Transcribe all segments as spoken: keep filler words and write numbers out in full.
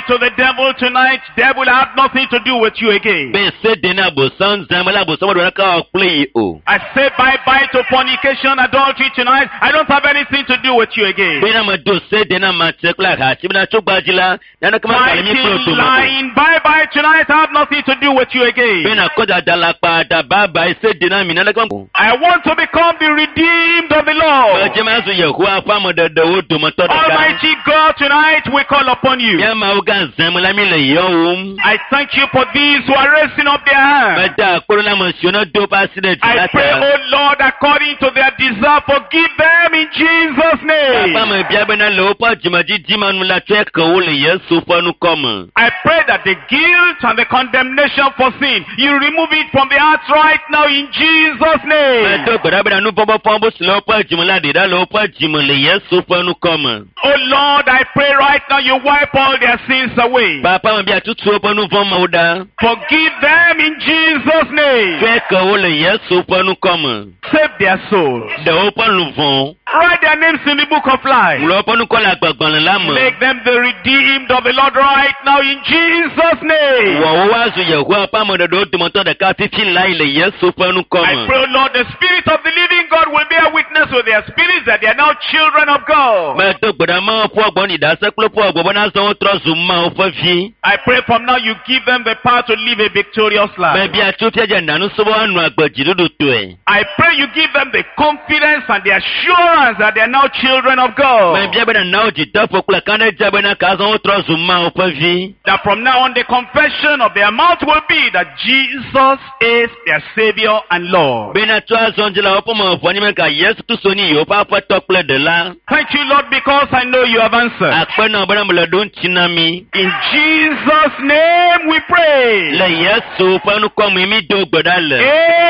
to the devil tonight. Devil, I have nothing to do with you again. Be se de na abosam zã me la abosam meɖo naneke awɔ kple yi o. I say bye bye to fornication, adultery tonight. I don't have anything to do with you again. Bena medo se de na matre kple ahatsi bena tso gbadzi la naneke megale mi kple Fighting, dome o. lying, bye bye tonight. I have nothing to do with you again. Bena kɔdada la kpa da baba se de na mi naneke me. I want to become the redeemed of the Lord. Medze ma zu Yehowa ƒe ameɖeɖewo dometɔ ɖeka. Almighty God, tonight we call upon you. Mía Mawu gã zã me la mi le yɔwòm. I thank you for these who are raising up their hands. Meda akpe ɖo na ame siwo ne do woƒe asi ɖe dzi I la pray, ta. oh Lord, according to their desire, forgive them in Jesus' name. Papa mebia bena le woƒe dzimedzidzi ma nu la tsɔe ke wo le Yesu ƒe ŋkɔ me. I pray that the guilt and the condemnation for sin, you remove it from the hearts right now in Jesus' name. Medo gbe ɖa bena nuvɔ̃ ƒe fɔbu si le woƒe dzime la ɖi ɖa le woƒe dzime le Yesu ƒe ŋkɔ me. Oh Lord, I pray right now you wipe all their sins away. Papa mebia tutu woƒe nuvɔ̃ mewo ɖa. Forgive them in Jesus' name. Tsɔe ke wo le Yesu ƒe ŋkɔ me. Save their souls. Ɖe woƒe luʋɔ. Write their names in the book of life. Ŋlɔ woƒe ŋkɔ le agbagbalẽ la me. Make them the redeemed of the Lord right now in Jesus' name. Wɔ wo woazu Yehowa ƒe ameɖeɖewo dometɔ ɖeka fifi lae le Yesu ƒe ŋkɔ I me. pray, Lord, the Spirit of the living God will bear witness with their spirits that they are now children of God. Medo gbe ɖa Mawu ƒe gbɔ ni ɖase kple ƒe gbɔ bena azɔ wotrɔ zu Mawu ƒe vi. I pray from now you give them the power to live a victorious life. Mebia tso fia dze nanusɔ be woanɔ agbe dziɖuɖutɔe. I pray you give them the confidence and the assurance that they are now children of God. Mebia bena na wo dzideƒo kple kaɖedze bena ke azɔ wotrɔ zu Mawu ƒe vi. That from now on the confession of their mouth will be that Jesus is their Savior and Lord. Bena tso azɔ dzi le woƒe me ʋɔ anyi be ka Yesu Kristo nye yewoƒe aƒetɔ kple ɖela. Thank you, Lord, because I know you have answered. Akpe na wo bena mele ɖo ŋuti na mi. In Jesus' name we pray. Le Yesu ƒe ŋkɔ me mi do gbe ɖa le.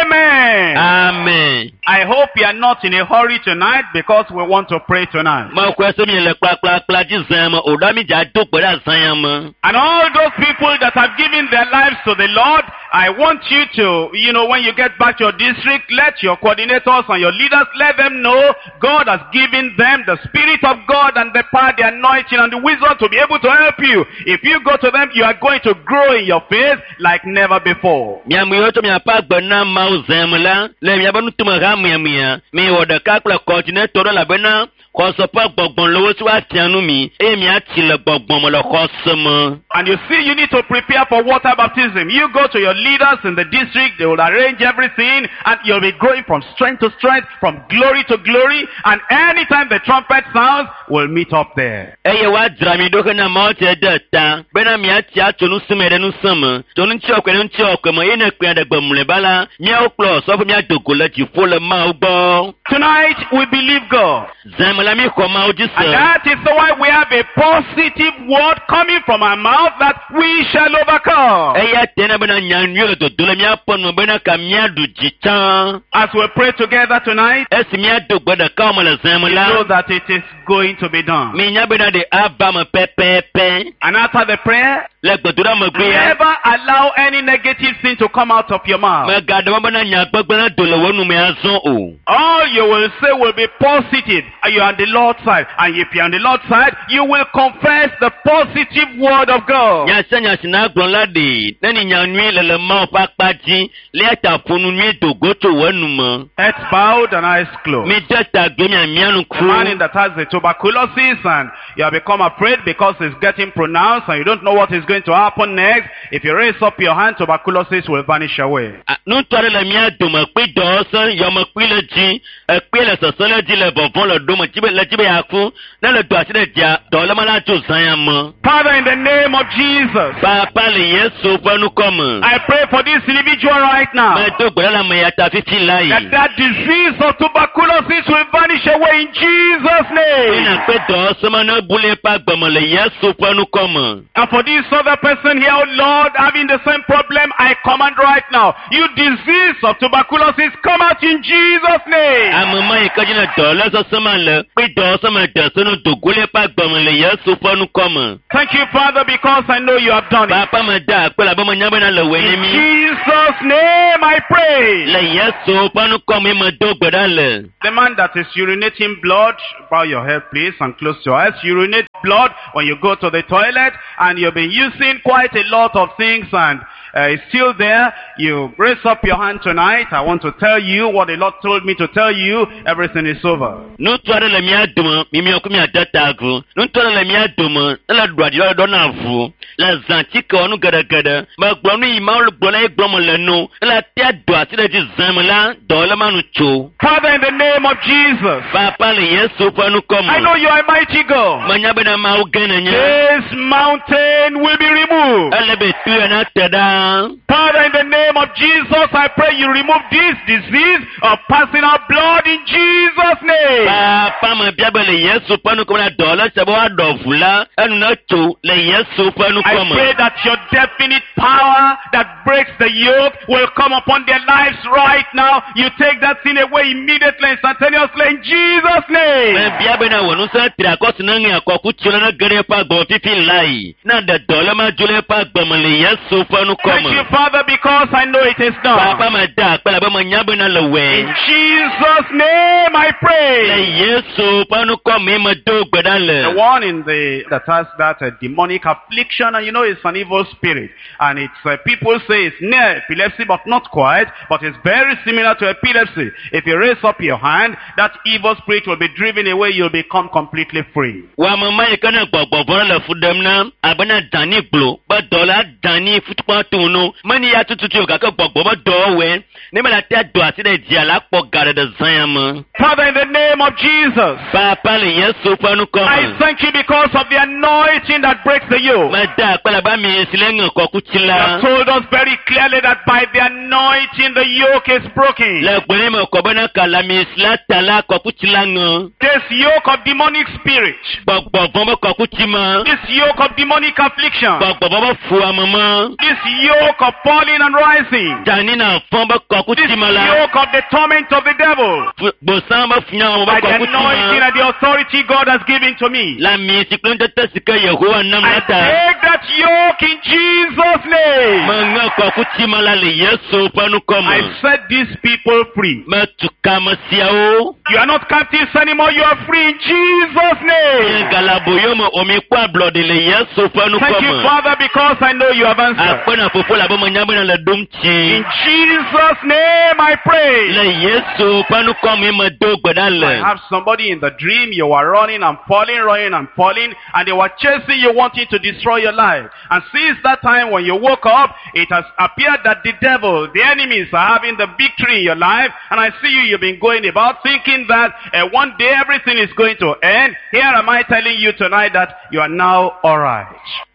Amen. Amen. I hope you are not in a hurry tonight because we want to pray tonight. Mexɔe se mi le kplakplakpla dzi zã me o ɖa mi dza do gbe ɖa zã ya me. And all those people that have given their lives to the Lord, I want you to, you know, when you get back to your district, let your coordinators and your leaders, let them know God has given them the Spirit of God and the power, the anointing and the wisdom to be able to help you. If you go to them, you are going to grow in your faith like never before. Miame yiwo tsɔ miaƒe agbe na Mawu zã me la, le miaƒe nutome ha miamia, miwɔ ɖeka kple kɔdinetɔ ɖe elabena xɔse ƒe gbɔgbɔ le wo si woafia nu mi eye miatsi le gbɔgbɔ me le xɔse me. And you see, you need to prepare for water baptism. You go to your leaders in the district, they will arrange everything, and you'll be growing from strength to strength, from glory to glory, and anytime the trumpet sounds, we'll meet up there. Eye woadzra mi ɖo hena Mawu tse de ta bena miatsi atso nusẽ me ɖe nusẽ me, tso ŋutiɔkɔe ɖe ŋutiɔkɔe me eye ne kpea ɖe gbe mlɔeba la, míawo kple osɔfo míado go le dziƒo le Mawu gbɔ. Tonight, we believe God. Zã me la míxɔ Mawu dzi And se. that is why we have a positive word coming from our mouth that we shall overcome. Eya tena bena nya nyui le dodo le míaƒe nu bena ka míaɖu dzi tsã. As we pray together tonight, Esi míado gbe ɖeka me le zã me you know la, that it is going to be done. minya bena ɖe ava me pɛpɛpɛ. And after the prayer, Le gbedoɖa megbea, never allow any negative thing to come out of your mouth. megaɖe mɔ bena nya gbegblẽ nado le wò nu me azɔ o. All you will say will be positive. And You are on the Lord's side. And if you are on the Lord's side, you will confess the positive word of God. Nya sia nya si nagblɔ la ɖe, ne ni nya nyui le le Mawu ƒe akpa dzi, le eya ta ƒo nu nyui do go tso wò nu me. Heads bowed and eyes closed. Mide ta gbe mia mia The man in nuku. that has the tuberculosis and you have become afraid because it's getting pronounced and you don't know what is going to happen next. If you raise up your hand, tuberculosis will vanish away. A- Ŋutsu aɖe le mía dome kpi dɔ se yɔmekpui le dzi, ekpui le sese le dzi le vɔvɔ̃ le ɖome dzi be le dzi be yeaku. Ne le do asi ɖe dzia, dɔléle la tso zã ya me. Father, in the name of Jesus, Papa le Yesu ƒe ŋkɔ me. I pray for this individual right now. Medo gbe ɖa le ame ya ta fifi la That yi. that disease of tuberculosis will vanish away in Jesus' name. Ena kpe dɔ se me ne bu le eƒe agbe me le Yesu ƒe ŋkɔ me. And for this other person here, oh Lord, having the same problem, I command right now. You disease of tuberculosis, come out in Jesus' name. Ame ma yi ke dzi ne dɔléle sesẽ ma le kple dɔ sesẽ me de se no dogo le eƒe agbeme le Yesu ƒe ŋkɔ me. Thank you, Father, because I know you have done it. Papa me da akpe labe menya bena le wòe ne In mi. Jesus' name I pray. Le Yesu ƒe ŋkɔ me me do gbe ɖa le. The man that is urinating blood, bow your head please and close your eyes. Urinate blood when you go to the toilet and you've been using quite a lot of things and uh, it's still there. You raise up your hand tonight. I want to tell you what the Lord told me to tell you. Everything is over. Ŋutsu aɖe le mía dome, mi miɔ ku miade ta agu. Ŋutsu aɖe le mía dome, ele ɖu aɖi ɖɔ na ʋu. Le zã tsike wɔ nu geɖegeɖe. Megblɔ nu yi Mawu gblɔ na ye gblɔm le nu. Ele tea do asi ɖe dzi zã me la, dɔléle ma nu tso. Father, in the name of Jesus, Papa le Yesu ƒe ŋkɔ I me. know you are a mighty God. Menya bena Mawu gã nènye. This mountain will be removed. Ele be tu ya na te ɖa. Father, in the name of Jesus, I pray you remove this disease of passing out blood in Jesus' name. Papa me bia be le Yesu ƒe ŋkɔ me la dɔléle sia be woaɖɔ ʋu la, enu ne tso le Yesu ƒe I ŋkɔ me. pray that your definite power that breaks the yoke will come upon their lives right now. You take that sin away immediately, instantaneously, in Jesus' name. Mebia bena wò ŋusẽ tri akɔ si ne ŋe akɔkutsi la ne ge ɖe eƒe agbe me fifi lae. Ne ɖe dɔléle ma dzo le eƒe agbe me le Yesu ƒe ŋkɔ Thank me. you, Father, because I know it is done. Papa me da akpe labe menya bena le In wɔe. Jesus' name I Le pray. Yesu ƒe ŋkɔ me me do gbe ɖa The le. one in the that has that uh, demonic affliction, and you know it's an evil spirit, and it's uh, people say it's near epilepsy, but not quite, but it's very similar to epilepsy. If you raise up your hand, that evil spirit will be driven away. You'll become completely free. Wò ame ma yi ke ne gbɔgbɔ vɔ̃ le fu ɖem na abe na dani gblɔ be dɔla dani futukpa to no meni ya tututu o gake gbɔgbɔ be dɔwɔwɔe ne mele ate do asi ɖe dzia la kpɔ ga ɖe zã ya me. Father, in the name of Jesus, Papa le Yesu ƒe ŋkɔ I me. thank you because of the anointing that breaks the yoke. Meda akpe labe ami si le ŋe kɔkutsi You la. have told us very clearly that by the anointing the yoke is broken. Le gbe me kɔ bena kala ami si la ta la kɔkutsi la ŋe. This yoke of demonic spirit, Gbɔgbɔ vɔ̃ be kɔkutsi ma. this yoke of demonic affliction, Gbɔgbɔ vɔ̃ be fu ame ma. this yoke of falling and rising, Dani na fɔ̃ be this kɔkutsi ma la. yoke of the torment of the devil, Fu- Gbosã be funyawo by be the kɔkutsi anointing ma. and the authority God has given to me. Le ami si kple ŋutete si ke Yehowa nam I la ta. take that yoke in Jesus' name. Meŋe kɔkutsi ma la le Yesu ƒe ŋkɔ I me. set these people free. Metu kame siawo. You are not captives anymore. You are free in Jesus' name. Galaboyo me o mi kpɔ ablɔɖe le Yesu ƒe ŋkɔ Thank you, me. Father, because I know you have answered. Akpe na fofo labe menya bena le ɖom In tsi. Jesus' name I pray. Le Yesu ƒe ŋkɔ me me do gbe ɖa I le. have somebody in the dream, you were running and falling, running and falling, and they were chasing you, wanting to destroy your life. And since that time when you woke up, it has appeared that the devil, the enemies are having the victory in your life, and I see you, you've been going about thinking that uh, one day everything is going to end. Here am I telling you tonight that you are now alright.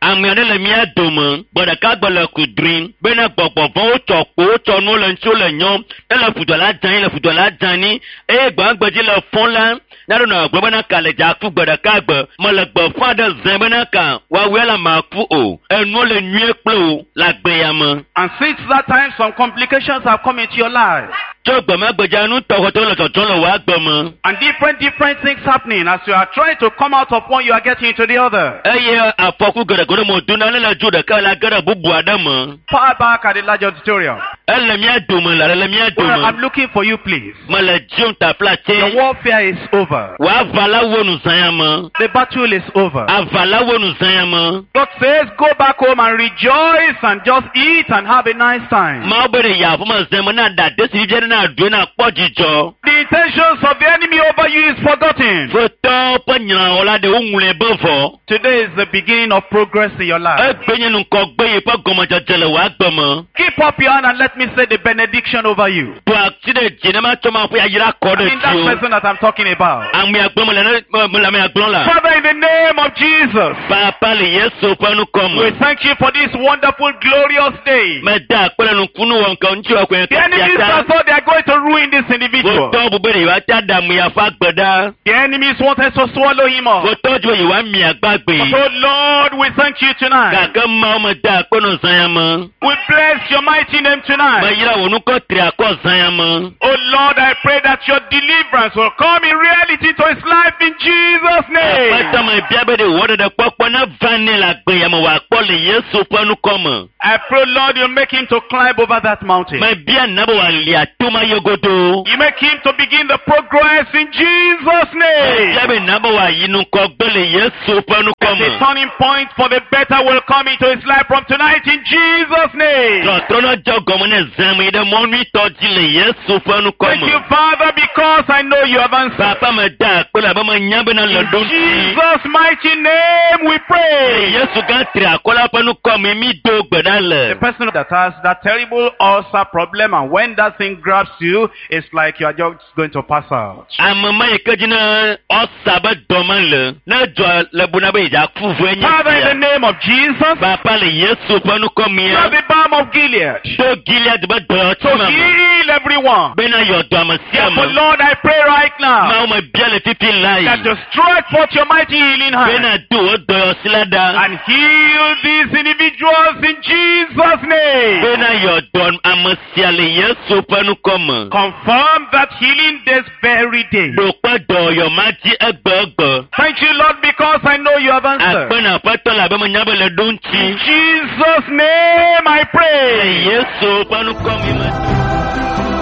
Ame aɖe le mía dome, gbe ɖeka gbe le kudrim bena gbɔgbɔ vɔ̃wo tsɔ kpo wotsɔ nuwo le ŋuti wole nyɔm, ele ƒudɔ la dzãnyi le ƒudɔ la dzãnyi eye gbãgbedzi le fɔ̃ la, nyaɖo nɔ gblɔ bena ka le dza ku gbe ɖeka gbe, mele gbeƒã ɖe zẽ bena ka woawoe la maku o, enuwo le nyuie kple wo le agbe ya me. And since that time, some complications have come into your life. Tso gbemagbedza nu tɔxɔtɔwo le dzɔdzɔm le wò agbe me. And different, different things happening. As you are trying to come out of one, you are getting into the other. Eye afɔku geɖe mo dona ne le dzo ɖeka la ge ɖe bubu aɖe me. Far back at the large auditorium. Ele mía dome la le mía Well, I'm dome. looking for you, please. Mele dziom tafla The tse. warfare is over. Wò aʋa la wo nu zã ya me. The battle is over. Aʋa la wo nu zã ya me. God says, go back home and rejoice and just eat and have a nice time. Mawu be ɖe yi aƒeme zã me na ɖa desi vivi aɖe na ɖu na kpɔ dzidzɔ. The intentions of the enemy over you is forgotten. Futɔwo ƒe nyrãwɔla ɖe woŋlɔe be vɔ. Today is the beginning of progress in your life. Egbe nye ŋkɔgbe yi ƒe gɔmedzedze le wò agbe me. Keep up your hand and let me say the benediction over you. Do asi ɖe dzi ne matsɔ ma ƒe yayra kɔ I ɖe mean that dziwò. person that I'm talking about. Amea gblɔm le ne me le amea gblɔm la. Father, in the name of Jesus, Papa le Yesu ƒe ŋkɔ we me. thank you for this wonderful, glorious day. Meda akpe le nukunu wɔ ŋke ŋuti wɔ koe The enemies kasiata. are thought they are going to ruin this individual. Wotɔ bu be ɖe yewoate aɖe amea ƒe agbe ɖa. The enemies wanted to swallow him up. Wotɔ dzi be yewoami agbagbe. But oh Lord, we thank you tonight. Gake Mawu meda akpe nɔ zã ya me. We bless your mighty name tonight. tonight. Meyra wò nukɔ tri akɔ zã ya me. Oh Lord, I pray that your deliverance will come in reality to his life in Jesus' name. Aƒetɔ me bia be ɖe wò ɖeɖe kpɔkpɔ ne va nɛ le agbe ya me wòakpɔ le Yesu ƒe nukɔ me. I pray, Lord, you make him to climb over that mountain. Mebia na be wòalia toma ye godo. You make him to begin the progress in Jesus' name. Mebia be na be wòayi ŋgɔgbe le Yesu ƒe nukɔ The me. turning point for the better will come into his life from tonight in Jesus' name. Trɔtrɔ ne dze gɔme ne zã me yi ɖe mɔ nyuitɔ dzi le Yesu ƒe nukɔ Thank me. you, Father, because I know you have answered. Papa me da akpe le abe menya bena le In ɖo ŋuti. Jesus' mighty name we pray. Yesu gã tri akɔ la ƒe nukɔ me mi do gbe ɖa le. The person that has that terrible ulcer problem, and when that thing grabs you, it's like you are just going to pass out. Ame ma yi ke dzi ne ɔsa be dɔme le ne dzɔ le bu na be yedza ku vɔe nye Father, in the sia. name of Jesus, Papa le Yesu ƒe nukɔ you are mia. the balm of Gilead. Do Gilead be To dɔyɔti me. heal everyone. Bena yɔ dɔ ame sia Therefore, ame. Lord, I pray right now Mawu me bia le fifi la that yi. you stretch forth your mighty healing hand Bena do wo dɔyɔsi la ɖa. and heal these individuals in Jesus' name. Bena yɔ dɔ ame sia le Yesu ƒe nukɔ me. Confirm that healing this very day. Ɖo kpe dɔyɔ ma dzi egbe egbe. Thank you, Lord, because I know you have answered. Akpe na aƒetɔ le abe menya be le ɖo In ŋuti. Jesus' name I Le pray. Yesu ƒe nukɔ me me.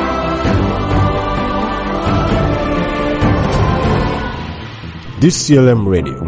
D C L M Radio.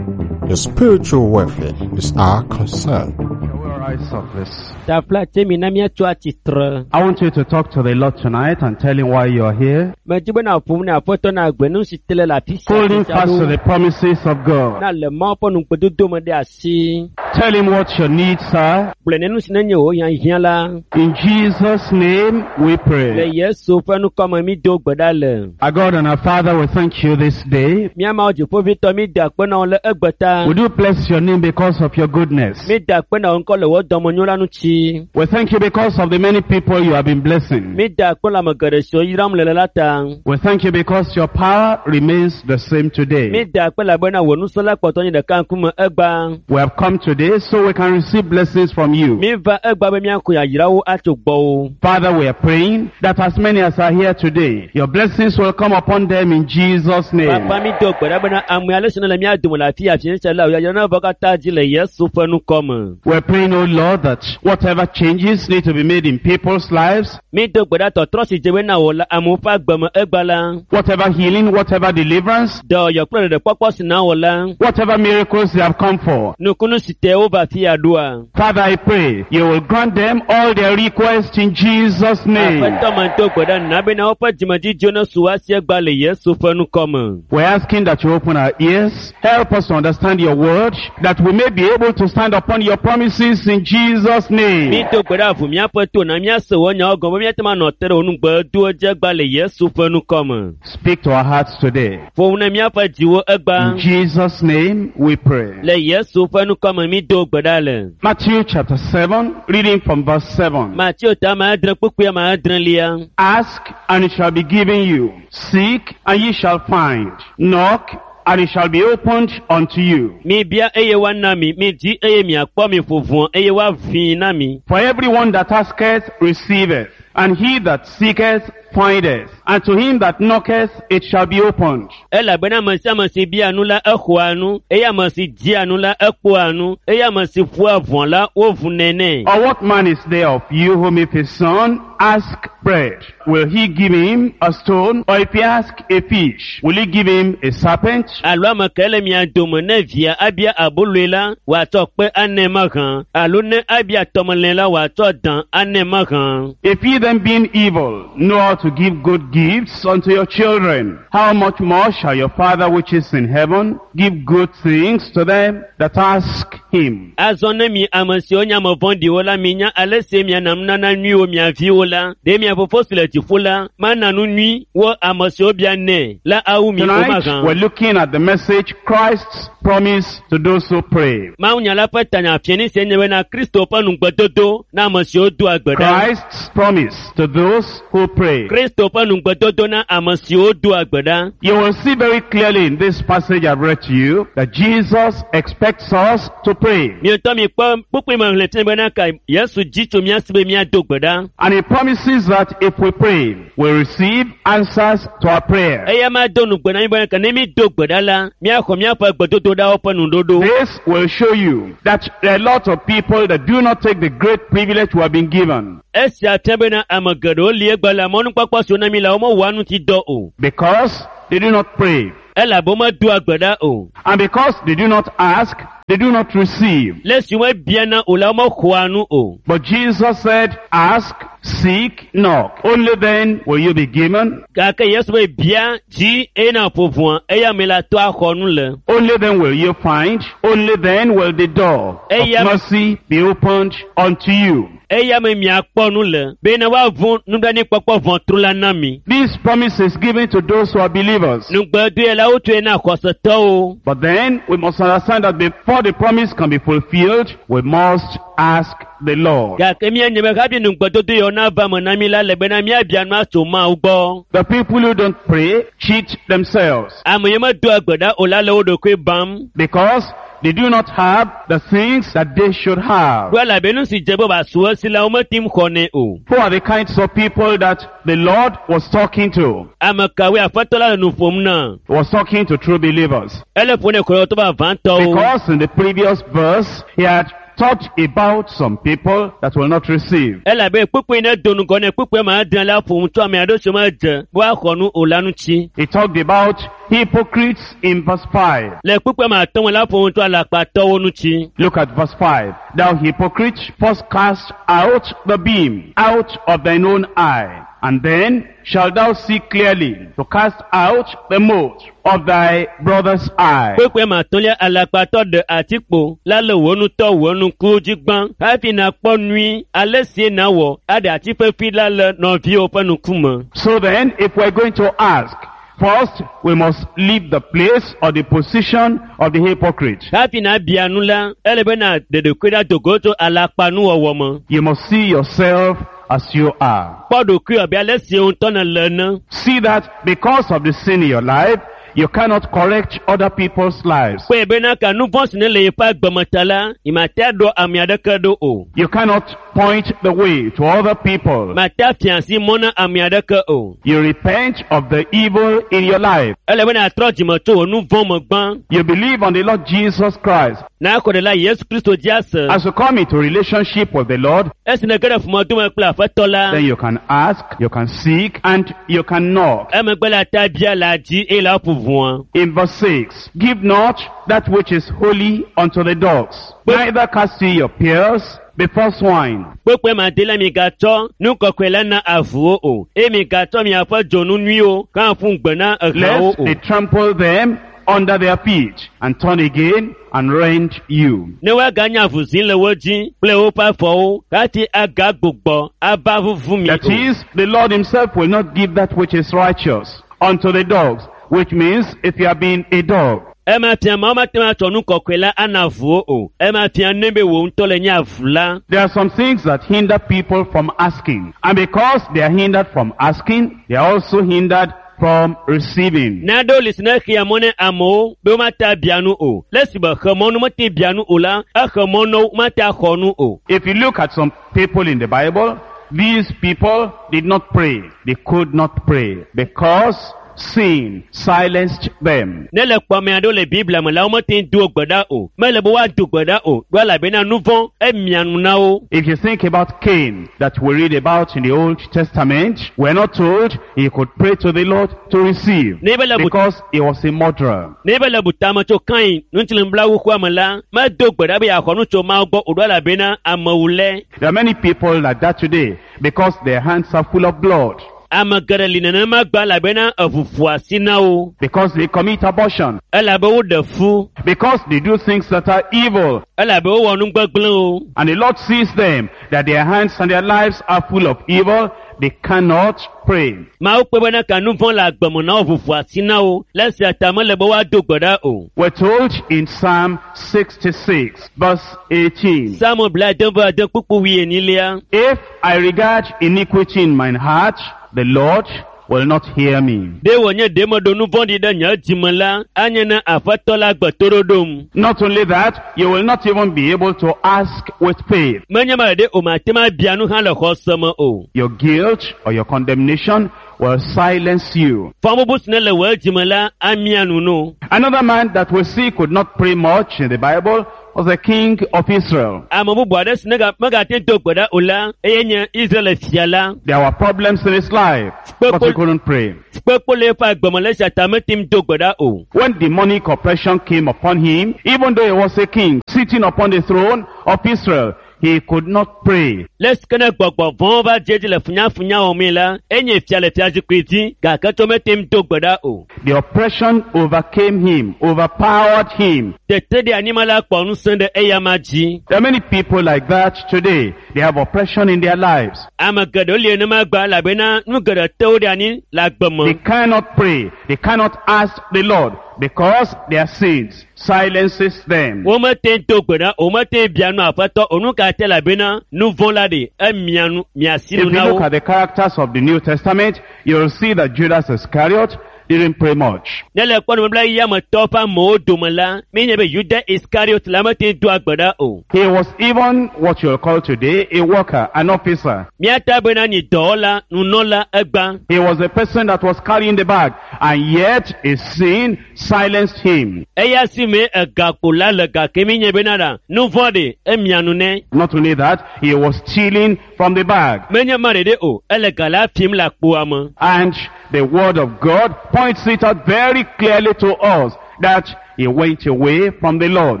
Your spiritual welfare is our concern. Can we rise up, please? Tafla tse mi na míatso atsitre. I want you to talk to the Lord tonight and tell him why you are here. Medi be na ƒom ne aƒetɔ na agbe nu si te le le afi sia Holding sia fast to ɖo. the promises of God. Na le Mawu ƒe nugbedodo me ɖe asi. Tell him what your needs are. Gblɔe ne nu si nenye wò hiahiã la. In Jesus' name we Le pray. Yesu ƒe nukɔme mi do gbe ɖa le. Our God and our Father, we thank you this day. Mía Mawu dziƒoʋĩtɔ mi da akpe na wò le egbe ta. We do bless your name because of your goodness. Mi da akpe na wò ŋkɔ le wò dɔmenyo la ŋuti. We thank you because of the many people you have been blessing. Mi da akpe le ame geɖe siwo yram le le la ta. We thank you because your power remains the same Mi today. da akpe elabena wò ŋusẽ la kpɔtɔ nye ɖeka ŋkume egba. We have come today so we can receive blessings from you. Mi va egba be míaxɔ yayrawo atso gbɔwò. Father, we are praying that as many as are here today, your blessings will come upon them in Jesus' name. Papa mi do gbe ɖa bena ame ale si ne le mía dome le afi afi sia la, yayra na va katã dzi le Yesu ƒe ŋkɔ me. We're praying, O Lord, that whatever changes need to be made in people's lives, Mi do gbe ɖa tɔtrɔ si dze be na wò le amewo ƒe agbe me egba la, whatever healing, whatever deliverance, dɔyɔ kple ɖeɖekpɔkpɔ si na wò la, whatever miracles they have come for. nukunu si te wova afi ya ɖoa. Father, I pray you will grant them all their requests in Jesus' name. Aƒetɔ me do gbe ɖa na bena woƒe dzimedzidziwo ne su wo si egba le Yesu ƒe ŋkɔ me. We're asking that you open our ears, help us to understand your word, that we may be able to stand upon your promises in Jesus' Mi name. do gbe ɖa ʋu míaƒe to na míase wò nyawo gɔme be míate ŋu anɔ te ɖe wò nugbedowo dzi egba le Yesu ƒe ŋkɔ me. Speak to our hearts today. Ƒo nu na míaƒe dziwo egba. In Jesus' name we pray. Le Yesu ƒe ŋkɔ me mi do gbe ɖa le. Matthew chapter seven, reading from verse seven. Mateo ta ame adre kpukpui ame adrelia. Ask and it shall be given you. Seek and ye shall find. Knock and it shall be opened unto you. Mi bia eye woana mi, mi di eye miakpɔ mi ƒo ʋɔ eye woavii na mi. For everyone that asketh receiveth, and he that seeketh findeth, and to him that knocketh it shall be opened. Elabena ame sia ame si bia nu la exɔa nu, eye ame si dia nu la ekpɔa nu, eye ame si ƒoa ʋɔ la wovunɛ nɛ. Or what man is there of you whom if his son ask bread, will he give him a stone? Or if he ask a fish, will he give him a serpent? Alo ame ke le mia dome ne via abia aboloe la, wòatsɔ kpe anɛ mahã. Alo ne abia tɔmelĩ la, wòatsɔ dan anɛ mahã. If ye then being evil know how to give good gifts unto your children, how much more shall your Father which is in heaven give good things to them that ask him? Azɔ ne mi ame siwo nye ame vɔ̃ɖiwo la minya ale si miana nunana nyuiwo mia viwo la, ɖe mia fofo si le dziƒo la mana nu nyui wo ame siwo bia nɛ la awu mi o Tonight, mahã. we're looking at the message, Christ's promise to those who pray. Mawunya la ƒe tanya fiani sie nye bena Kristo ƒe nugbedodo na ame siwo doa gbe ɖa. Christ's promise to those who pray. Kristo ƒe nugbedodo na ame siwo doa gbe ɖa. You will see very clearly in this passage I've read to you that Jesus expects us to pray. Mietɔ mi kpɔ kpukpui me xlẽ fia bena ka Yesu dzi tso mía si be míado gbe ɖa. And he promises that if we pray, we receive answers to our prayer. Eya ma do nugbe na mi bena ka ne mi do gbe ɖa la, míaxɔ míaƒe gbedodoɖawo ƒe nuɖoɖo. This will show you that there are a lot of people that do not take the great privilege we have been given Esia fia bena ame geɖewo li egbe le mɔnukpɔkpɔ siwo na mi la womewɔa ŋuti dɔ o. because they do not pray. Elabe womedoa gbe ɖa o. And because they do not ask, they do not receive. Le esi womebiana o la, womexɔa nu o. But Jesus said, ask, seek, knock. Only then will you be given. Gake Yesu be bia dzi eye na ƒo ʋɔa, eya me la to axɔ nu le. Only then will you find. Only then will the door of Eya- mercy be opened unto you. Eya me miakpɔ nu le bena woavu nublanuikpɔkpɔ ʋɔtru la na mi. This promise is given to those who are believers. Nugbedoe la wotsoe na xɔsetɔwo. But then we must understand that before the promise can be fulfilled, we must ask the Lord. Gake míanye be hafi nugbedodo yawo nava me na mi la le bena míabia nu atso Mawu gbɔ. The people who don't pray cheat themselves Ame yi medoa gbe ɖa o la le wo ɖokui bam. because they do not have the things that they should have. Ɖo elabe nu si dze be wòasu esi la womete ŋu xɔnɛ o. Who are the kinds of people that the Lord was talking to? Ame kawoe Aƒetɔ la le nu ƒom na? He was talking to true believers. Ele ƒo ne xɔsetɔ vavãtɔwo. Because in the previous verse, he had talked about some people that will not receive. Elabe kpukpui ne do ŋgɔ ne kpukpui ma adre la ƒo nu tso ame aɖewo siwo medze be woaxɔ nu o la ŋuti. He talked about hypocrites in verse five. Le kpukpui ma atɔ̃ me la ƒo nu tso alakpatɔwo ŋuti. Look at verse five. Thou hypocrite, first cast out the beam out of thine own eye, and then shalt thou see clearly to cast out the mote of thy brother's eye. Kpukpui ma atɔ̃lia alakpatɔ ɖe atikpo la le wò ŋutɔ wò ŋkuwo dzi gbã hafi nàkpɔ nyui ale sie nàwɔ aɖe ati fefi la le nɔviwò ƒe ŋkume. So then, if we're going to ask, first we must leave the place or the position of the hypocrite. Hafi nàbia nu la, ele be nàɖe ɖokui ɖa do go tso alakpanuwɔwɔ me. You must see yourself as you are. Kpɔ ɖokuiwò abe ale si wò ŋutɔ nèle ene. See that because of the sin in your life, you cannot correct other people's lives. Kpɔe bena ka nu vɔ̃ si ne le yeƒe agbeme ta la, yemate aɖɔ ame aɖeke ɖo o. You cannot point the way to other people. Mate afia asi mɔ na ame aɖeke o. You repent of the evil in your life. Ele be nàtrɔ dzime tso wò nu vɔ̃ me gbã. You believe on the Lord Jesus Christ. Nàxɔ ɖe la Yesu Kristo dzi ase. As you come into relationship with the Lord, Esi nège ɖe ƒomedome kple Aƒetɔ la, then you can ask, you can seek, and you can knock. emegbe la ta bia la dzi eye la ƒo ʋɔa. In verse six, give not that which is holy unto the dogs, neither cast ye your pearls before swine. Kpekpe ma de la migatsɔ nu kɔkɔe la na avuwo o eye migatsɔ miaƒe dzonu nyuiwo hã ƒu gbe na ehawo Lest o. they trample them under their feet and turn again and rend you. Ne woaganye avuzi le wo dzi kple woƒe afɔwo hafi agagbugbɔ ava vuvu mi That o. is, the Lord himself will not give that which is righteous unto the dogs, which means if you have been a dog, Ema fia ma womate ŋu atsɔ nu kɔkɔe la ana avuwo o. Ema fia ne be wò ŋutɔ le nye avu la. There are some things that hinder people from asking. And because they are hindered from asking, they are also hindered from receiving. Naɖewo li si ne xea mɔ ne amewo be womate abia nu o. Le esi be xe mɔ nu mete bia nu o la, exe mɔ na wo womate axɔ nu o. If you look at some people in the Bible, these people did not pray. They could not pray because sin silenced them. Ne le kpɔ ame aɖewo le Biblia me la, womete ŋu do gbe ɖa o. Mele be woado gbe ɖa o. Ɖo elabena nu vɔ̃ emia nu na wo. If you think about Cain that we read about in the Old Testament, we're not told he could pray to the Lord to receive Ne be le bu because he was a murderer. ne be le butame tso Kain ŋutilẽblawu me la, medo gbe ɖa be yeaxɔ nu tso Mawu gbɔ o ɖo elabena amewulɛ. There are many people like that today because their hands are full of blood, Ame geɖe li nenema gbã elabena eʋu ƒo asi na wo. because they commit abortion, Elabe woɖe fu. because they do things that are evil. Elabe wowɔ nu gbegblẽwo. And the Lord sees them that their hands and their lives are full of evil. they cannot pray. Mawu kpe bena ka nu vɔ̃ le agbeme na wo ʋuʋu asi na wo le esia ta mele be woado gbe ɖa o. We're told in Psalm sixty-six, verse eighteen, Psalm blaade vɔ ade kpukpu wuienyilia. If I regard iniquity in mine heart, the Lord will not hear me. Ɖe wònye ɖe meɖo nu vɔ̃ɖi ɖe nye dzime la, anye ne Aƒetɔ la gbe toɖoɖom. Not only that, you will not even be able to ask with faith. Menye ma ɖe o mate ŋu abia nu hã le xɔse me o. Your guilt or your condemnation will silence you. Fɔbubu si ne le wò dzime la amia nu no. Another man that we see could not pray much in the Bible was the king of Israel. Ame bubu aɖe si nega- megate ŋu do gbe ɖa o la, eye nye Israel fia la. There were problems in his life, but he couldn't pray. Kpekpe le eƒe agbeme le esia ta mete ŋu do gbe ɖa o. When demonic oppression came upon him, even though he was a king sitting upon the throne of Israel, he could not pray. Le esi ke ne gbɔgbɔ vɔ̃wo va dze edzi le funyafunya wɔmee la, enye fia le fiazikpui dzi gake tso mete ŋu do gbe ɖa o. The oppression overcame him, overpowered him. Tete ɖe anyigba la kpɔ ŋusẽ ɖe eyama dzi. There are many people like that today. They have oppression in their lives. Ame geɖewo li nenema gba elabena nu geɖe te wo ɖe anyi le agbe me. They cannot pray. They cannot ask the Lord because their sins silences them. Womete ŋu do gbe ɖa o, womete ŋu bia nu Aƒetɔ o. Nu ka te elabena nu vɔ̃ la ɖe emia nu mia asi If nu you na look wo. at the characters of the New Testament, you'll see that Judas Iscariot didn't pray much. Ne le kpɔ nubabla yia me tɔwo ƒe amewo dome la, míenye be Yuda Iskariot la mete ŋu doa gbe ɖa o. He was even what you'll call today a worker, an officer. Míata bena nyi dɔwɔla, nunɔla egba. He was the person that was carrying the bag, and yet his sin silenced him. Eya si me egakpo la le gake míenye bena ɖa, nu vɔ̃ ɖe emia nu nɛ. Not only that, he was stealing from the bag. Menye ma ɖeɖe o, ele ga la fim le akpoa me. And the word of God points it out very clearly to us that he went away from the Lord.